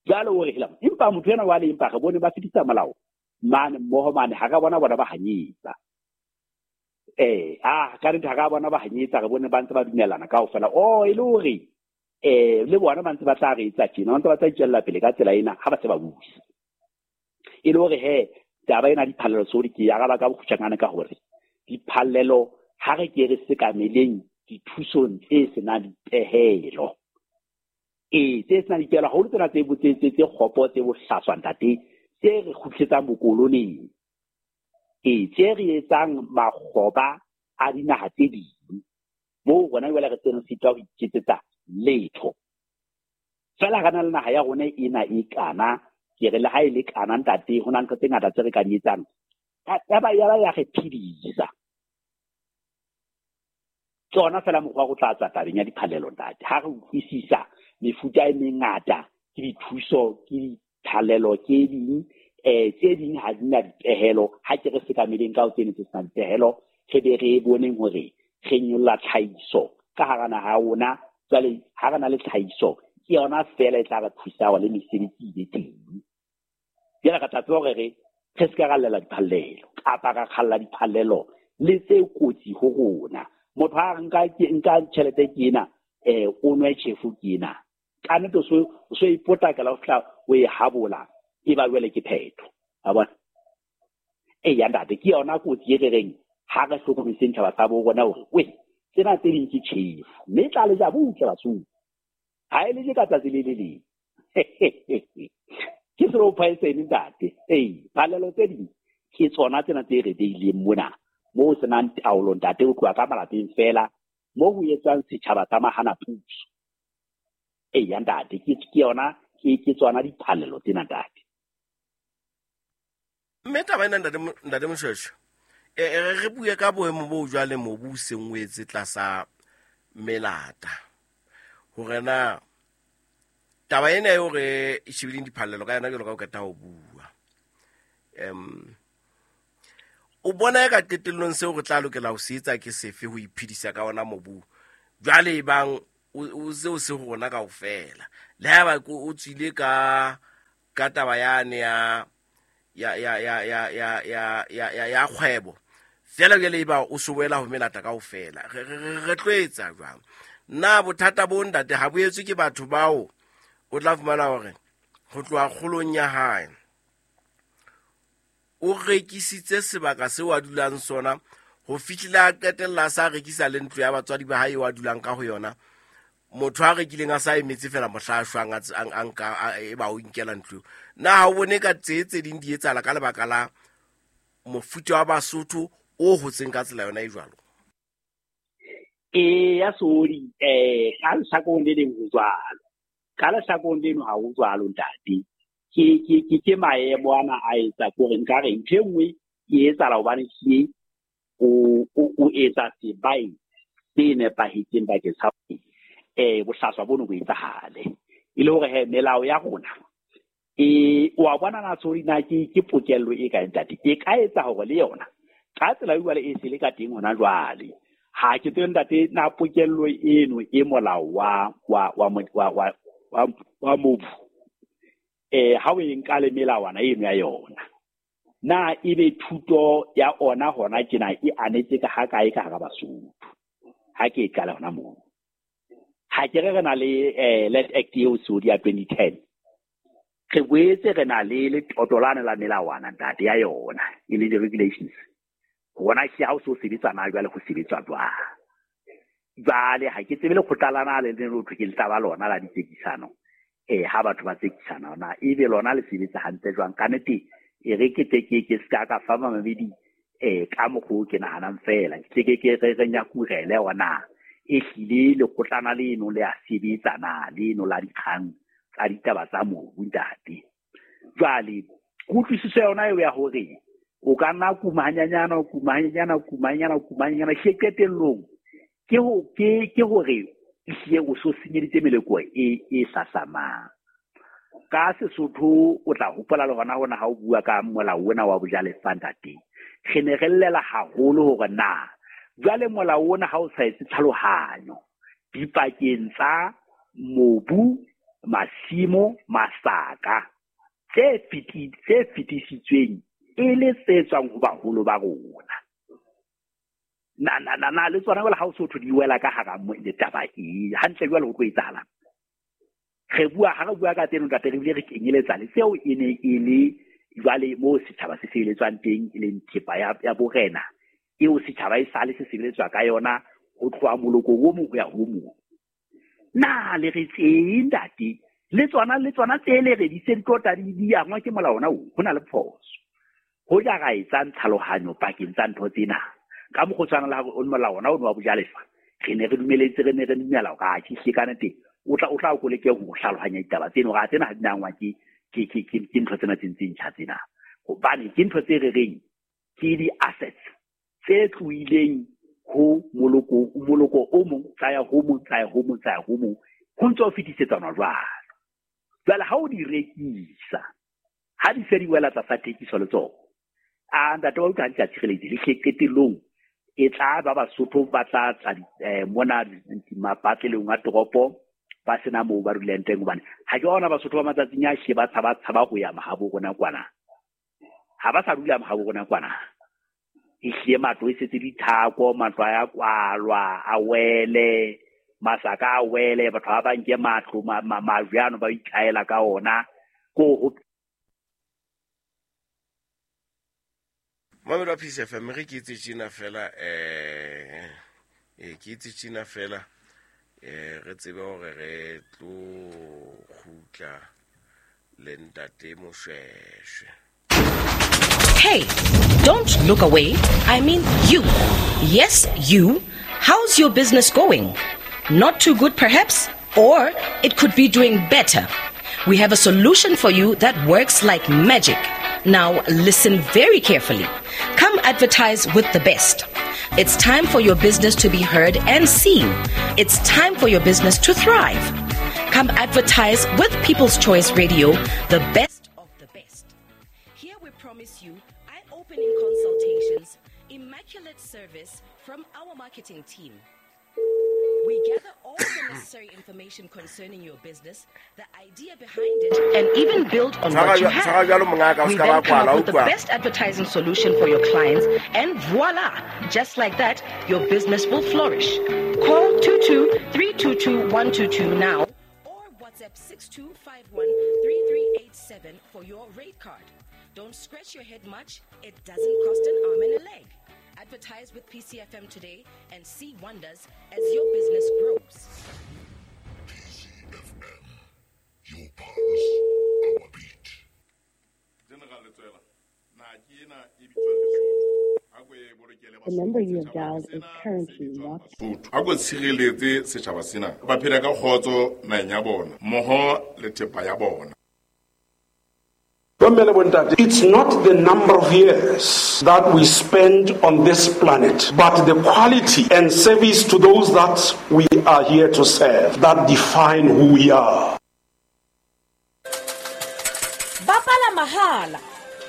jwale o re hela empa motho ena wa le empa re bone ba fetisa molao mane mmoho mane ha ka bona bona ba hanyetsa eh ah ka nnete ha ka bona ba hanyetsa re bone ba ntse ba dumellana kaofela oh e le hore eh le bona ba ntse ba tla re etsa tjena ba ntse ba tla itswella pele ka tsela ena ha ba se ba busa e le hore he taba ena diphallelo tseo ke araba ka bokgutshwanyane ka hore diphallelo ha re ke re sekameleng dithusong tse senang dipehelo ee tse senang dipehelo haholo tsena tse tse tse kgopo tse bohlaswa ntate tse re kgutlisetsang bokoloneng ee tse re etsang makgoba a dinaha tse ding moo rona jwale re tsene sitwa ho iketsetsa letho fela re na le naha ya rona ena e kana ke re le ha e le kana ntate ho na ntho tse ngata tse re ka di etsang ya ba ya ba ya re phedisa ke ona fela mokgwa wa go tla tswa tabeng ya diphallelo ntate ha re utlwisisa mefuta e mengata ke dithuso ke diphallelo ke ding eh tse ding ha di na dipehelo ha ke re sekameleng ka ho tsene tse senang dipehelo re be re boneng hore re nyolla tlhahiso ka hara naha ya rona jwale ha re na le tlhahiso ke yona fela e tla re thusa hore le mesebetsi e be teng jwale re tla tseba hore re re se ka ra llela diphallelo kapa ra kgalla diphallelo le tse kotsi ho rona motho ha nka nka tjhelete ke ena eh o nwe tjhefu ke ena ka nnete o so o so ipotlakela ho fihla o e habola e ba jwale ke phetho a bona e ya ntate ke yona kotsi e re reng ha re hlokomediseng tjhaba sa bo rona hore we tsena tse ding ke tjhefu mme e tla le ja butle Basotho ha e le je ka tsatsi le le leng ke slow poison ntate ee phallelo tse ding ke tsona tsena tse re beileng mona moo ho senang taolo ntate ho tloha ka malapeng fela moo ho etswang setjhaba sa mahana puso eya ntate ke ke yona ke ke tsona diphallelo tsena ntate mme taba ena ntate ntate Moshweshwe e re bue ka boemo bo jwale mobu o seng o etse tlasa melata hore na taba ena e hore e shebileng diphallelo ka yona jwalo ka o qeta ho bua em O bona e ka qetellong seo re tla lokela ho se etsa ke sefe ho iphedisa ka ona mobu? Jwale e bang o se o se ho rona kaofela. Le haeba o tswile ka ka taba yane ya ya ya ya ya ya ya ya ya ya kgwebo. Fela jwale e ba o se wela ho melata kaofela. Re re tlo etsa jwang? Na bothata bo ntate ha bo etswe ke batho bao o tla fumana hore ho tloha kgolong ya hae o rekisitse sebaka seo a dulang sona ho fihlela a qetella a sa rekisa le ntlo ya batswadi ba hae wa dulang ka ho yona. Motho a rekileng a sa emetse fela mohla a shwang a nka e ba o inkela ntlo. Na ha o bone ka tse tse ding di etsahala ka lebaka la mofuta wa Basotho o hotseng ka tsela yona e jwalo? E ya sori eh ka lehlakoreng le leng ho jwalo, ka lehlakoreng leno ha ho jwalo ntate. Ke ke ke ke maemo ana a etsa kore nka re ntho e nngwe e etsahala hobane ke o o etsa sebai se nepahetseng bakeng sa eh bohlaswa bono bo etsahale. E le hore he melao ya rona e wa bona na sori na ke ke pokello e kae ntate, e ka etsa hore le yona ka tsela e jwale e se le ka teng hona jwale. Ha ke tsebe ntate na pokello eno e molao wa wa wa wa wa wa mobu eh ha o e nka le melawana eno ya yona, na ebe thuto ya ona hona tjena e anetse ka ha kae ka hara Basotho? Ha ke e qala hona moo. Ha ke re re na le eh Land Act eo Saudi ya twenty ten, re boetse re na le letoto lane la melawana ntate ya yona e le di-regulations. Hona ke ha o so sebetsana jwale ho sebetswa jwang. Jwale ha ke tsebe lekgotla lana le le ho thwe ke letaba lona la ditsekisano eh ha batho ba tsekisana na ebe lona le sebetsa hantle jwang. Ka nnete e re ke tle ke ke ska ka fa mamedi eh ka mokgo ke nahanang fela ke ke ke re re nyakurele ona e hlile lekgotlana leno le a sebetsa na leno la dikgang tsa ditaba tsa mobu ntate. Jwale kutlwisiso yona eo ya hore o ka nna kuma hanyanyana o kuma hanyanyana o kuma hanyanyana o kuma hanyanyana hle qetellong ke ho ke ke hore ehlile o so senyeditse meleko e e hlahlamang. Ka Sesotho o tla hopola le hona hona ha o bua ka molao ona wa bojalefa ntate, re ne re llela haholo hore na jwale molao ona ha o sa etse tlhalohanyo dipakeng tsa mobu, masimo, masaka tse feti tse fetisitsweng e le tse tswang ho baholo ba rona. Na na na na le tsona jwale ha o so di wela ka hara le taba e hantle jwale ho tlo etsahala. Re bua ha re bua ka tseno ntate re bile re kenyeletsa le seo e ne e le jwale moo setjhaba se sebeletswang teng e leng thepa ya ya borena eo setjhaba e sale se sebeletswa ka yona ho tloha molokong o mong ho ya ho mong. Na le re tseng ntate le tsona le tsona tse le re di se di tlo tla di di angwa ke molao ona o ho na le phoso. Ho ja ra etsang tlhalohanyo pakeng tsa ntho tsena ka mokgwa tshwana le ha o molao ona o wa bojalefa re ne re dumeletse re ne re dumela hore a ke hle ka nnete o tla o tla o leke ho hlalohanya ditaba tseno hore a tsena ha di nangwa ke ke ke ke ntho tsena tse ntseng tjha tsena hobane ke ntho tse re reng ke di-assets tse tlohileng ho moloko moloko o mong tsa ya ho mong tsa ya ho mong tsa ya ho mong ho ntse ho fetisetsana jwalo. Jwale ha o di rekisa ha di se di wela tlasa thekiso le tsona a ntate wa utlwa ha di sa tshireletsi le qetellong e tla ba Basotho ba tla tla mona mapatlelong a toropo ba sena moo ba dulang teng hobane ha ke ona Basotho ba matsatsing a she ba tshaba tshaba ho ya mahabo rona kwana. Ha ba sa dula mahabo rona kwana e hlile matlo e setse dithako, matlo a ya kwalwa a wele, masaka a wele, batho ba ba nke matlo majwe ano ba ikaela ka ona ko. Mamelo wa Peace F M re ke itse tjena fela eh eh ke itse tjena fela eh re tsebe hore re tlo kgutla le ntate Moshweshwe. Hey, don't look away. I mean you. Yes, you. How's your business going? Not too good perhaps, or it could be doing better. We have a solution for you that works like magic. Now listen very carefully. Come advertise with the best. It's time for your business to be heard and seen. It's time for your business to thrive. Come advertise with People's Choice Radio, the best of the best. Here we promise you, I Eye-opening consultations, immaculate service from our marketing team. We gather all the necessary information concerning your business, the idea behind it, and even build on what you have. We then come up with the best advertising solution for your clients, and voila! Just like that, your business will flourish. Call two two three two two one two two now or WhatsApp six two five one three three eight seven for your rate card. Don't scratch your head much. It doesn't cost an arm and a leg. Advertise with P C F M today and see wonders as your business grows. P C F M, your pulse, our beat. The number you have dialed is currently not. A go tshireletse setjhaba sena ba phela ka kgotso naheng ya bona mmoho le thepa ya bona. It's not the number of years that we spend on this planet, but the quality and service to those that we are here to serve that define who we are. Bapala Mahala.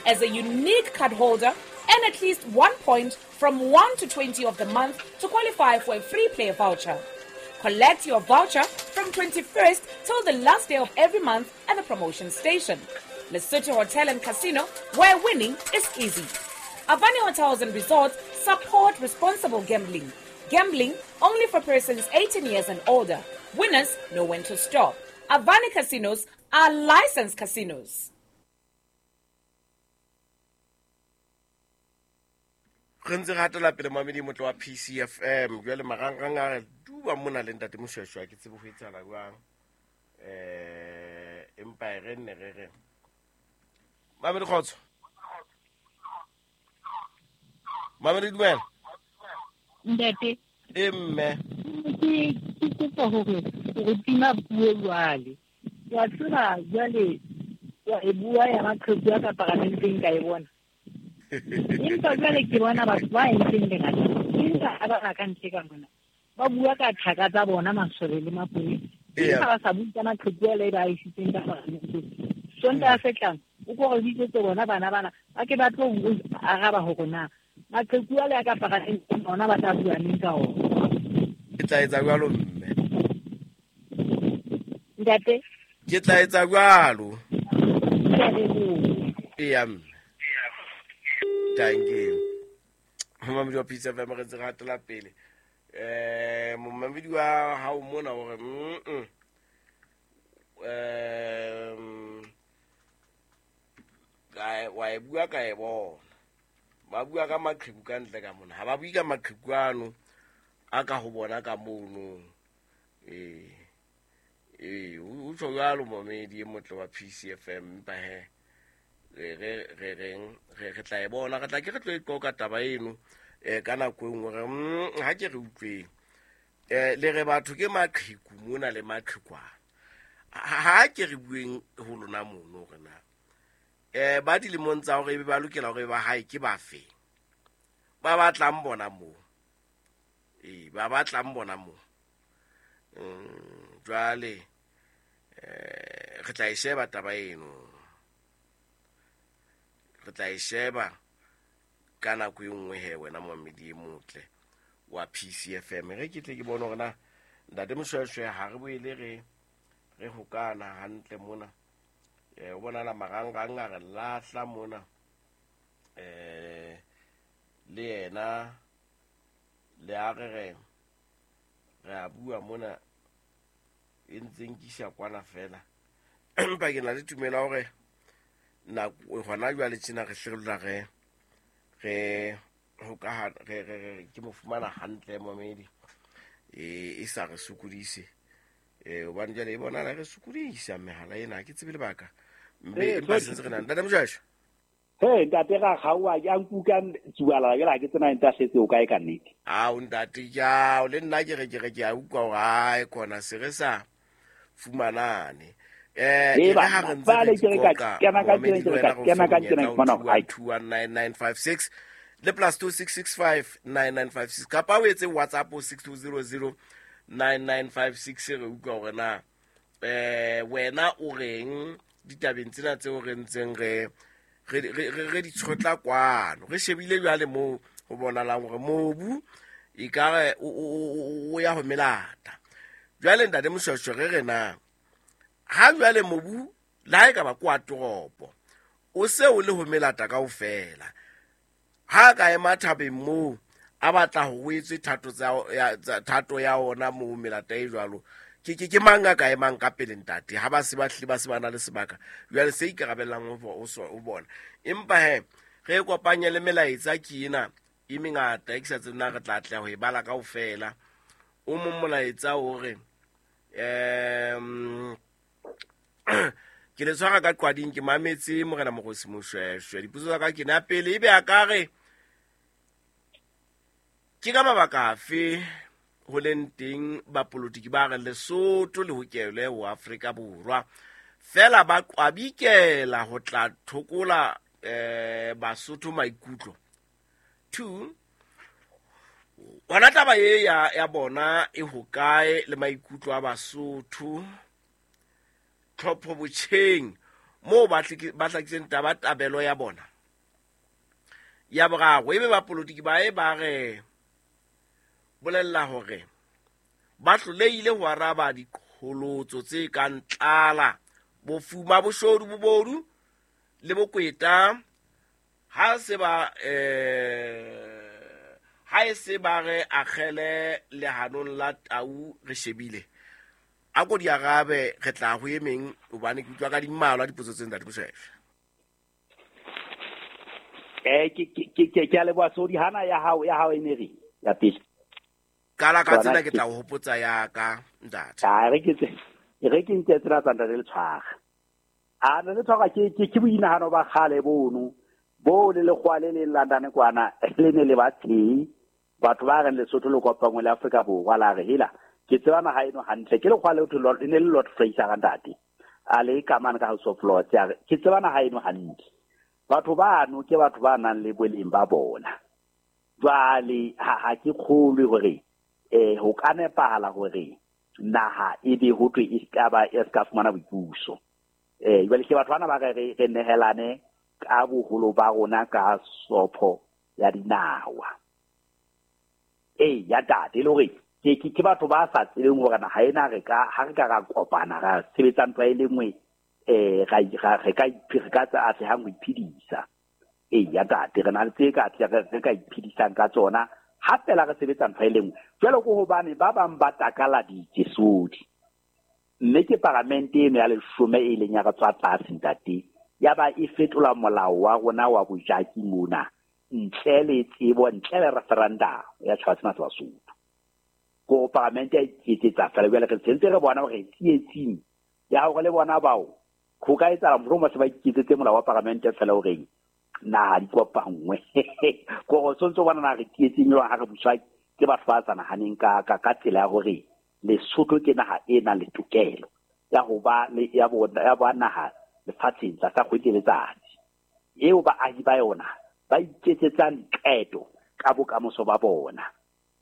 As a unique card holder, earn at least one point from one to twenty of the month to qualify for a free play voucher. Collect your voucher from twenty-first till the last day of every month at the promotion station. Lesotho Hotel and Casino, where winning is easy. Avani Hotels and Resorts support responsible gambling. Gambling only for persons eighteen years and older. Winners know when to stop. Avani Casinos are licensed casinos. Re ntse re hatela pele mamedi motlo wa P C F M jwale marangrang a re duba mona le ntate Moshweshwe ke tsebe ho etsahala jwang eh empa e re nne re re Mamedi kgotso. Mamedi dumela. Ntate. E mme. Ke ke kopa hore re tima puo jwale. Wa tseba jwale wa e bua ya maqheku a ka paramenteng ka e bona. Empa jwale ke bona batho ba entseng lengata. Empa ba ba ka ntle ka mona. Ba bua ka thaka tsa bona masole le maponesa. Empa ba sa bue ka maqheku a le ba isitseng ka paramenteng. Sontaha se tlang o ko re bitsetse bona bana bana ba ke ba tlo araba hore na maqheku a le a ka paramenteng ona ba tla bua neng ka ona. Ke tla etsa jwalo mme. Ntate. Ke tla etsa jwalo. Eya mme. Thank you. Momamedi wa P C F M re ntse re hatela pele. Eh momamedi wa hao mona hore mm um ka wa e bua ka e bona. Ba bua ka maqheku ka ntle ka mona. Ha ba bue ka maqheku ano a ka ho bona ka mono. Eh eh o tjho jwalo momedi e motle wa P C F M empa he re re re reng re re tla e bona re tla ke re tlo e qoka taba eno eh ka nako e nngwe re ha ke re utlweng eh le re batho ke maqheku mona le maqhekwana ha ke re bueng ho lona mono re na eh ba dilemong tsa hore ba lokela hore ba hae ke ba fe ba batlang bona mo eh ba batlang bona mo mm jwale eh re tla e sheba taba eno re tla e sheba ka nako e nngwe he wena momedi e motle wa P C F M re ke tle ke bone hore na ntate Moshweshwe ha re boele re re hokana hantle mona eh o bonala marangrang a re lahla mona eh le yena le a re re re a bua mona e ntse nkisha kwana fela empa ke na le tumelo hore nako hona jwale tjena re hlolola re re hoka re re ke mo fumana hantle momedi e e sa re sokodise eh hobane jwale e bona re sokodisa mehala ena ke tsebe lebaka mme empa sentse re na ntate Moshweshwe. Hey ntate ra gaoa ya nkuka tsuala ke la ke tsena ntahletse o kae ka nnete. Ao ntate ja o le nna ke re ke re ke a utlwa hore ai kona se re sa fumanane eh e ha re ntse re ka kena ka tsena ke ka kena ka tsena ke bona ai two one nine nine five six le plus two six six five nine nine five six kapa o etse WhatsApp o six two zero zero nine nine five six re utlwa hore na eh wena o reng ditabeng tsena tseo re ntseng re re re re di tshotla kwano re shebile jwale mo ho bonalang hore mobu e ka re o ya ho melata. Jwale ntate Moshweshwe re re na ha jwale mobu la e ka ba kwa toropo o se o le ho melata kaofela ha ka ema thabeng moo a batla ho etswe thato tsa ya thato ya ona mo melata e jwalo ke ke ke mang ka emang ka pele ntate ha ba se ba hle ba se ba na le sebaka jwale se ikarabellang ho o bona. Empa he re kopanye le melaetsa ke ena e mengata e ke sa tsena re tla tla ho e bala kaofela. O mong molaetsa o re em ke le tshwara ka qwading ke mametse morena Mokgosi Moshweshwe dipotso tsa ka ke na pele ebe a ka re ke ka mabaka afe ho leng teng bapolitiki ba re Lesotho le hokelwe ho Afrika Borwa fela ba qwabikela ho tla thokola eh Basotho maikutlo. Two, hona taba ye ya ya bona e hokae le maikutlo a Basotho tlhopho botjheng moo ba ba hlakiseng taba tabelo ya bona. Ya boraro ebe bapolitiki ba e ba re bolella hore ba hlolehile ho araba diqholotso tse kang tlala, bofuma, boshodu, bobodu le bokweta ha se ba eh ha e se ba re akgele lehanong la tau re shebile. A ko di arabe re tla ho emeng hobane ke utlwa ka di mmalwa dipotso tse ntate Moshweshwe. Eh ke ke ke ke a leboha Sodi hana ya hao ya hao e ne re ya pele. Kala ka tsena ke tla ho hopotsa ya ka ntate. Ha re ke tse re ke ntse tsena tsa ntate le tshwara. A le tshwara ke ke ke boinahano ba kgale bono bo le lekgwa le le London kwana le ne le ba teng batho ba reng Lesotho le kopangwe le Afrika Borwa la re hela ke tseba naha eno hantle ke lekgwa le ho le ne le Lord Fraser ntate a le ka mane ka House of Lords ya re ke tseba naha eno hantle batho bano ke batho ba nang le boleng ba bona. Jwale ha ha ke kgolwe hore eh ho ka nepahala hore naha e be ho thwe e ska ba e ska fumana boipuso. Eh jwale ke batho bana ba re re nehelane ka boholo ba rona ka sopho ya dinawa. Eh ya tate le hore ke ke ke batho ba sa tsebeng hore naha ena re ka ha re ka ra kopana ra sebetsa ntho e le nngwe eh ra re ka re ka tsa atlehang ho iphedisa. Eh ya tate re na le tse ka re ka iphedisang ka tsona ha fela re sebetsa ntho e le nngwe. Jwale ko hobane ba bang ba takaladitse Sodi mme ke paramente eno ya leshome e leng ya re tswa tlase ntate ya ba e fetola molao wa rona wa bojaki mona ntle le tsebo ntle le referendum ya tjhaba sena sa Basotho. Ko paramente ya iketsetsa fela jwale re sentse re bona hore tsietsing ya hore le bona bao ho ka etsahala mohlomong ba se ba iketsetse molao wa paramente fela horeng naha di kopangwe ko go sontso bona na re tsietsing yo ha re buswa ke batho ba sa nahaneng ka ka ka tsela ya hore Lesotho ke naha e nang le tokelo ya ho ba le ya bona ya ba naha lefatsheng tlasa kgwedi le letsatsi eo baahi ba yona ba iketsetsang diqeto ka bokamoso ba bona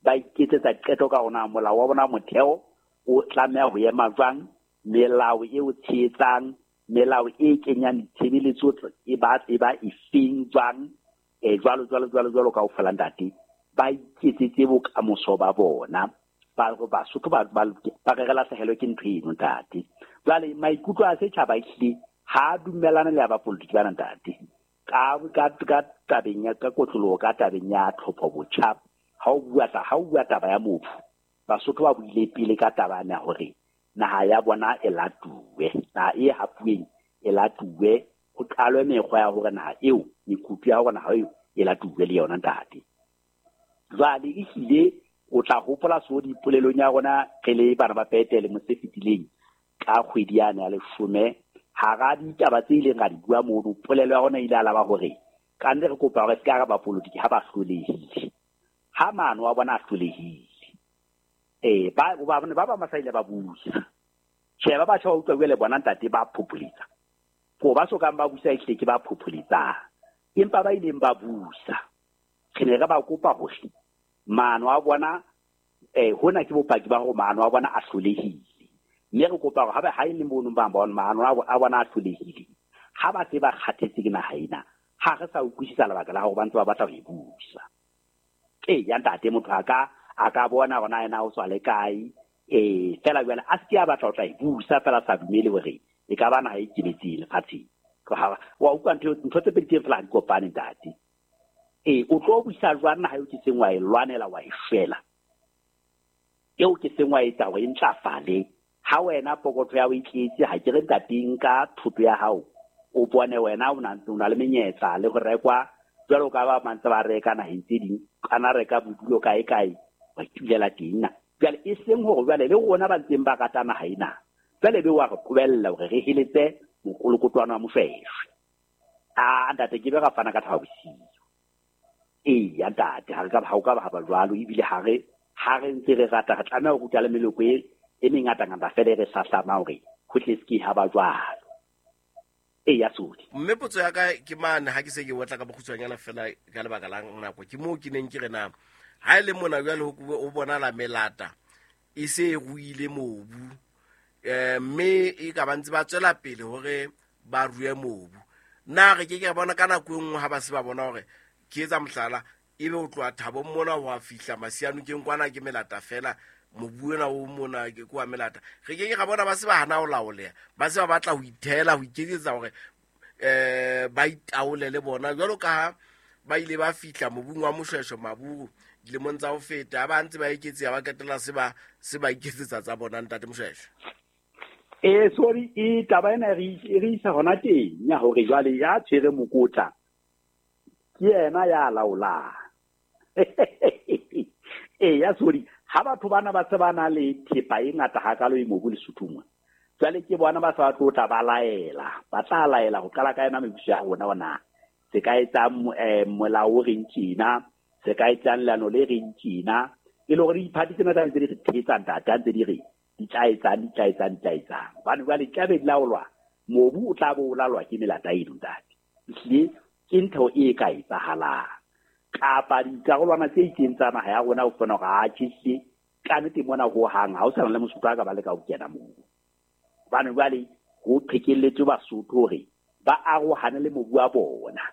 ba iketsetsa qeto ka ona molao wa bona motheo o tlameha ho ema jwang melao e o tshehetsang melao e kenyang ditshebeletso e ba e ba efeng jwang e jwalo jwalo jwalo jwalo kaofela ntate ba iketsetse bokamoso ba bona ba go Basotho ba ba ba re lahlehelwe ke ntho eno ntate. Jwale maikutlo a setjhaba ehlile ha dumellana le ya bapolitiki bana ntate ka ka ka tabeng ya ka kotloloho ka tabeng ya tlhopho botjha ha o bua ta ha o bua taba ya mobu Basotho ba buile pele ka taba ya hore naha ya bona e latuwe naha e hapuweng e latuwe ho qalwe mekgwa ya hore naha eo mekutu ya hore naha eo e latuwe le yona ntate. Jwale ehlile o tla hopola so dipolelong ya rona re le bana ba Petele mose fetileng ka kgwedi yane ya leshome hara ditaba tse ileng ra di bua mono polelo ya rona ile alaba hore ka nne re kopa hore se ka re bapolitiki ha ba hlolehile ha maano wa bona a hlolehile eh ba ba ba ba masaile ba busa tjhe ba batjha ba utlwa le bona ntate ba phopholetsa ko ba so kang ba busa ehlile ke ba phopholetsa empa ba ileng ba busa re ne re ba kopa hore maano a bona eh hona ke bopaki ba hore maano a bona a hlolehile mme re kopa hore ha ba ha ile mono ba bona maano a bona a hlolehile ha ba se ba kgathetse ke naha ena Ha re sa utlwisisa lebaka la hore ba ntse ba batla ho e busa. Ee ya ntate, motho a ka a ka bona hore na yena o tswa le kae, eh fela jwale a se ke a batla ho tla e busa fela sa dumele hore e ka ba naha e ikemetseng lefatsheng. Wa utlwa ntho ntho tse pedi tse fela di kopane ntate. Ee, o tlo busa jwang naha eo ke seng wa e lwanela wa e shwela, eo ke seng wa etsa hore e ntlafale. Ha wena pokotho ya o itletse, ha ke re ntate nka thoto ya hao o bone wena o na o na le menyetla le go rekwa jwalo ka ba mantse ba reka naheng tse ding, kana reka bodulo kae kae wa itulela teng na. Jwale e seng hore jwale le rona ba ntseng ba rata naha ena, jwale be wa re qobella hore re heletse mokolokotwana wa Moshweshwe. A ntate ke be ra fana ka thabo bosiu. Ee ya ntate, ha re ka ha o ka ba ba jwalo, ebile ha re ha re ntse re rata re tlameha ho ruta le meloko e e mengatangata fela e re hlahlamang hore ho tle se ke ha ba jwalo. Ee ya sodi. Mme potso ya ka ke mane ha ke se ke otla ka bokgutshwanyana fela ka lebaka la nako, ke moo ke neng ke re na ha e le mona jwale ho bonala melata e se e ruile mobu, eh mme e ka ba ntse ba tswela pele hore ba rue mobu. Na re ke ke bona ka nako e nngwe ha ba se ba bona hore ke etsa mohlala, ebe o tloha Thabong mona ho a fihla Masianokeng kwana ke melata fela, mobu ona o mona ke kwa melata. Re ke ke ra bona ba se ba hana ho laoleha, ba se ba batla ho ithela ho iketsetsa hore eh ba itaole le bona jwalo ka ha ba ile ba fihla mobung wa Moshweshwe Maburu dilemong tsa ho feta, ba ntse ba eketseha ba qetella se ba se ba iketsetsa tsa bona ntate Moshweshwe. Eh sorry, e taba ena re re isa hona teng ya hore jwale ya tshwere mokotla ke yena ya laolang. Eh ya sorry, ha batho bana ba se ba na le thepa e ngata hakalo e mobu Lesotho mona, jwale ke bona ba sa tlo tla ba laela, ba tla laela ho qala ka yena mebuso ya rona ona se ka etsang molao o reng tjena, se ka etsang leano le reng tjena, e le hore diphathi tsena tsa ntse di re thetsa ntate, ntse di re di tla etsang di tla etsang di tla etsang. Hobane jwale tla be di laolwa, mobu o tla bo o laolwa ke melata eno ntate. Ehlile ke ntho e ka etsahalang, kapa dikarolwana tse itseng tsa naha ya rona o kgona hore a tjhe ka nnete mona ho hang ha o sa na le Mosotho a ka ba leka ho kena moo. Hobane jwale ho qhekelletswe Basotho hore ba arohane le mobu wa bona.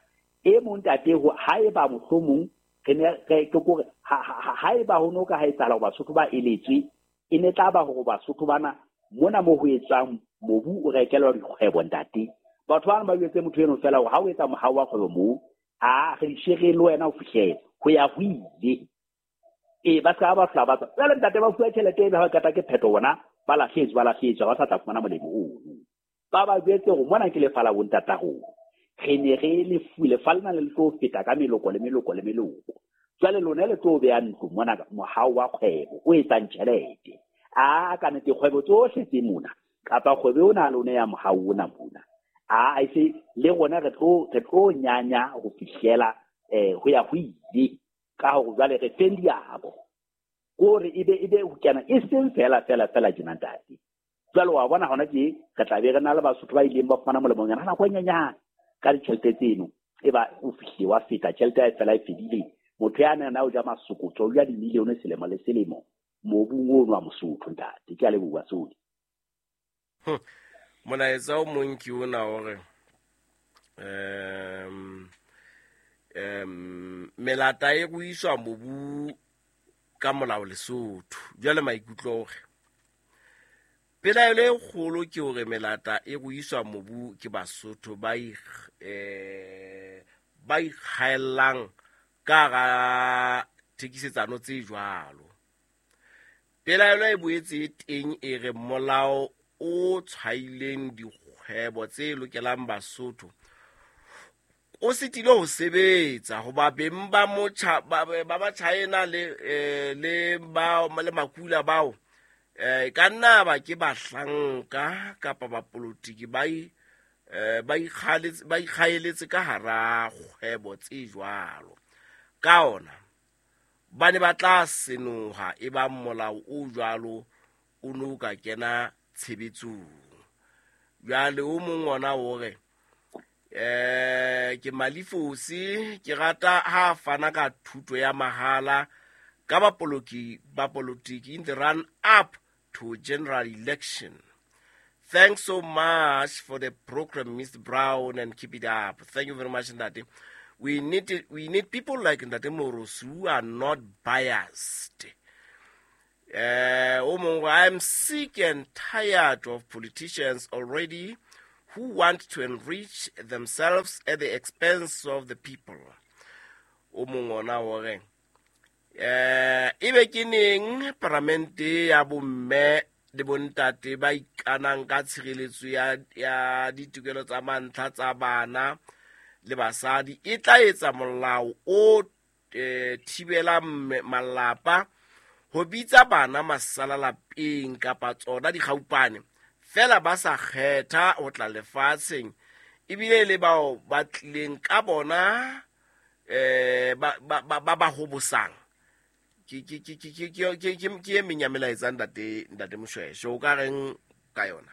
E mong ntate ha eba mohlomong re ne re ke kore ha eba ho no ka ha etsahala hore Basotho ba eletswe, e ne tla ba hore Basotho bana mona mo ho etsang mobu o rekelwa dikgwebo ntate. Batho bana ba jwetse motho eno fela hore ha o etsa mohau wa kgwebo moo, a re dishere le wena o fihlele ho ya ho ile. Ee ba ska ba hlola ba tswa. Jwale ntate ba fuwa tjhelete ebe ha ba qeta ke phetho bona ba lahlehetswe ba lahlehetswe ba sa tla fumana molemo ono. Ba ba jwetse hore mona ke lefa la bontata rona, re ne re lefu lefa lena le tlo feta ka meloko le meloko le meloko. Jwale lona le tlo beha ntlo mona mohau wa kgwebo o etsang tjhelete. A ka nnete kgwebo tsohle tse mona kapa kgwebo ona lona ya mohau ona mona, a e se le rona re tlo re tlo nyanya ho fihlela eh ho ya ho ile ka hore jwale re feng diabo kore ebe ebe ho kena e seng fela fela fela tjena ntate. Jwale wa bona hona ke re tla be re na le Basotho ba ileng ba fumana molemonyana nako e nyenyane ka ditjhelete tseno, e ba o fihle wa feta tjhelete ya fela e fedile. Motho ya nang o ja masokotso o ja dimilione selemo le selemo mobung ono wa Mosotho ntate. Ke a leboha Sodi. Molaetsa o mong ke ona hore um um melata e ruiswa mobu ka molao Lesotho. Jwale maikutlo hore pelaelo e kgolo ke hore melata e ruiswa mobu ke Basotho ba eh ba ikgaellang ka hara thekisetsano tse jwalo. Pelaelo e boetse e teng e re molao o tshwaileng dikgwebo tse lokelang Basotho o sitile ho sebetsa hoba beng ba motjha ba ba China le le ba le makula bao eh ka nna ba ke bahlanka kapa ba politiki ba ba ikgaletse ba ikgaeletse ka hara kgwebo tse jwalo. Ka ona ba ne ba tla senoha e ba molao o jwalo o no ka kena tshebetsong. Jwale o mong ona hore eh ke Malifosi ke rata ha fana ka thuto ya mahala ka bapoloki ba politiki in the run up to general election. Thanks so much for the program, Mister Brown, and keep it up. Thank you very much, Ndate. We need it, we need people like Ndate Moorosi who are not biased. Uh, I'm sick and tired of politicians already who want to enrich themselves at the expense of the people. O mong ona o re, eh, ebe ke neng paramente ya bomme le bontate ba ikanang ka tshireletso ya, ya ditokelo tsa mantlha tsa bana le basadi e tla etsa molao o eh, thibelang malapa ho bitsa bana masala lapeng kapa tsona dikgaupane fela ba sa kgetha ho tla lefatsheng ebile le bao ba tlileng ka bona eh ba ba ba ba hobosang. Ke ke ke ke ke ke ke ke e meng ya melaetsa ntate ntate Moshweshwe o ka reng ka yona?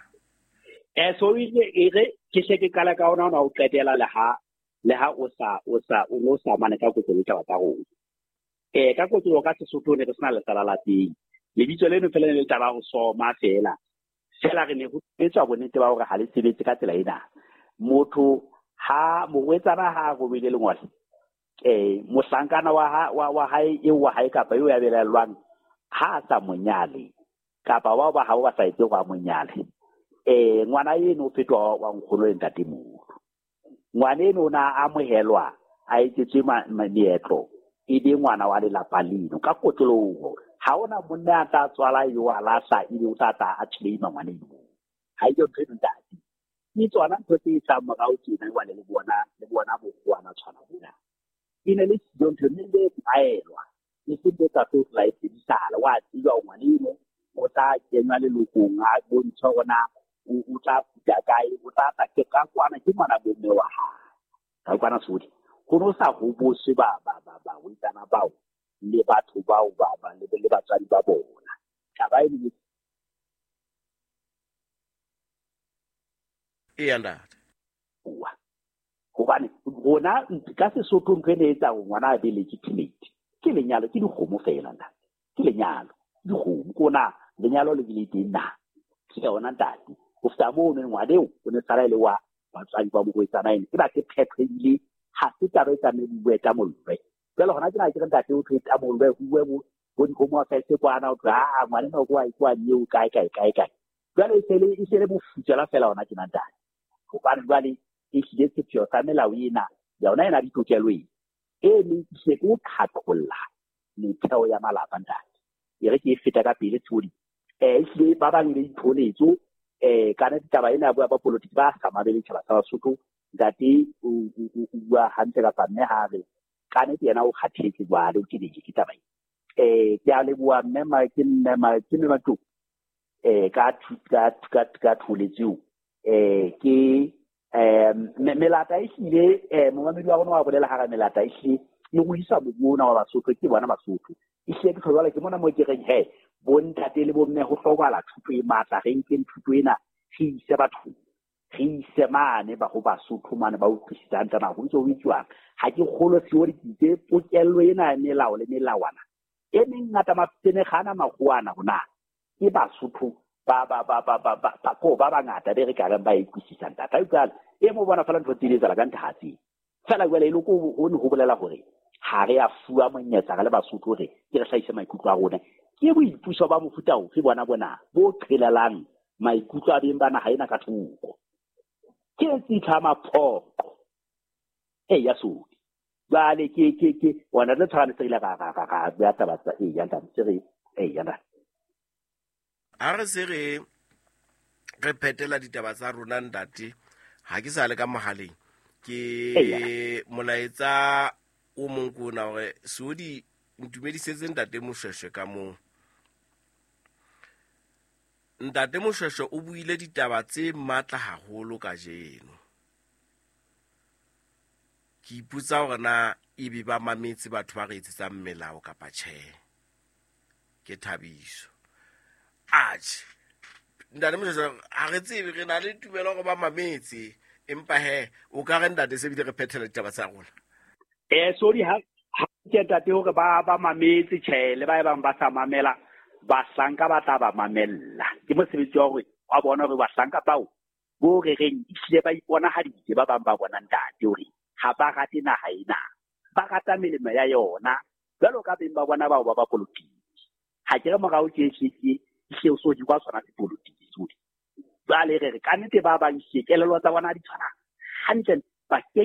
Eh so e re ke hle ke qala ka ona ona o qetela le ha le ha o sa o sa o no sa mane ka kotlo le taba tsa rona. Eh ka kotlo ka Sesotho ne re sena lesala la teng. Lebitso leno fela le taba ho soma fela. Fela re ne ho etswa bonnete ba hore ha le sebetse ka tsela ena. Motho ha morwetsana ha robele lengwalo eh mohlankana wa ha wa wa hae e wa hae kapa eo ya belellwang ha a sa monyale kapa bao ba hao ba sa etse go monyale eh ngwana eno o fetoha wa nkgono le ntatemoholo. Ngwana eno o na amohelwa a etsetswe meetlo e be ngwana wa lelapa leno ka kotloloho. Ha ona monna a tla tswala yo a lahla ebe o tla tla a claima ngwana eno. Ha e ntho eno ntate ke tsona ntho tse tsa morao tjena jwale le bona le bona bokgowana tshwana bona. E ne le siyo ntho mme le tlwaelwa e se ntho tsa tlo tla e sebedisala wa tseba ngwana eno o tla kenywa lelokong a bontshwa hore na o tla puta kae o tla tla ke ka kwana ke ngwana bomme wa hae ka kwana sodi ho no sa hoboswe ba ba ba ba wetsana bao le batho bao ba ba le le batswadi ba bona taba e ne e ntate hobane rona ka Sesotho ntho e etsa hore ngwana a be legitimate ke lenyalo ke dikgomo fela ntate ke lenyalo dikgomo kona lenyalo le bile teng na ke yona ntate ho feta moo ne ngwana eo o ne sala e le wa batswadi ba morwetsana ene ke ba ke phetho ebile ha se taba e tlamehile e bue ka mollwe. Jwale hona tjena ke re ntate o thwe ka mollwe ho bue bo dikgomo affairs kwana o thwe a ngwana ena o kwa kwa eo kae kae kae kae. Jwale e sele e sele bofutsela fela hona tjena ntate hobane jwale e hlile sepheo sa melao ena yona ena ditokelo e e meng ke ke o qhaqholla metheo ya malapa ntate e re ke e feta ka pele tshodi eh ehlile ba bang le ditholetso eh kana ditaba ena ya bua ba politiki ba sa mamele tjhaba sa Basotho ntate o bua hantle kapa mme ha re kana ke yena o kgathetse jwale o ke ke taba eh ke a leboha mme ma ke mme ma ke mme batho eh ka ka ka ka tholetso eh ke eh melata e hlile eh momamedi wa rona wa bolela hara melata e hlile e ruisa mobu ona wa Basotho ke bona Basotho e hlile ke tlhola ke mona mo ke reng he bontate le bomme ho hlokahala thuto e matla re nkeng thuto ena re ise batho re ise mane ba ho Basotho mane ba utlwisisang tana ho ntse ho itswang ha ke kgolo theory ke pokello ena ya melao le melawana e mengata mafene gana magoana hona ke Basotho ba ba ba ba ba ba ko ba bangata be re ka reng ba ikwisisang tata jwale e mo bona fela ntho tse di etsahala ka nthatsi fela jwale e le ko ho ne ho bolela hore ha re a fuwa monyetla re le Basotho hore ke re hlahise maikutlo a rona ke boipuso ba mofuta ofe bona bona bo qhelelang maikutlo a beng ba naha ena ka thoko ke tsitha maphoqo e ya sodi jwale ke ke ke ona le tshwane se ile ga ga ga ga ya taba tsa e ya ntate se re e ya ntate ha re se re re phetela ditaba tsa rona ntate ha ke sa le ka mohaleng ke molaetsa o mong ko ona hore Sodi ntumedisetse ntate Moshweshwe ka moo. Ntate Moshweshwe o buile ditaba tse matla haholo kajeno. Ke ipotsa hore na ebe ba mametse batho ba re etsetsang melao kapa tjhe. Ke Thabiso. Atjhe ntate Moshweshwe ha re tsebe re na le tumelo hore ba mametse empa he o ka re ntate se bile re phethela ditaba tsa rona. Eh sorry ha ke ntate hore ba ba mametse tjhe le ba e bang ba sa mamela bahlanka ba tla ba mamella ke mosebetsi wa hore Wa bona hore bahlanka bao bo re reng ehlile ba iponahaditse ba bang ba bona ntate hore ha ba rate naha ena. Ba rata melemo ya yona jwalo ka beng ba bona bao ba bapolotiki. Ha ke re morao tje tje tje ehlile o so di kwa sona sepolotiki sodi. Jwale re re ka nnete ba bang ehlile kelello tsa bona ha di tshwana hantle, ba ke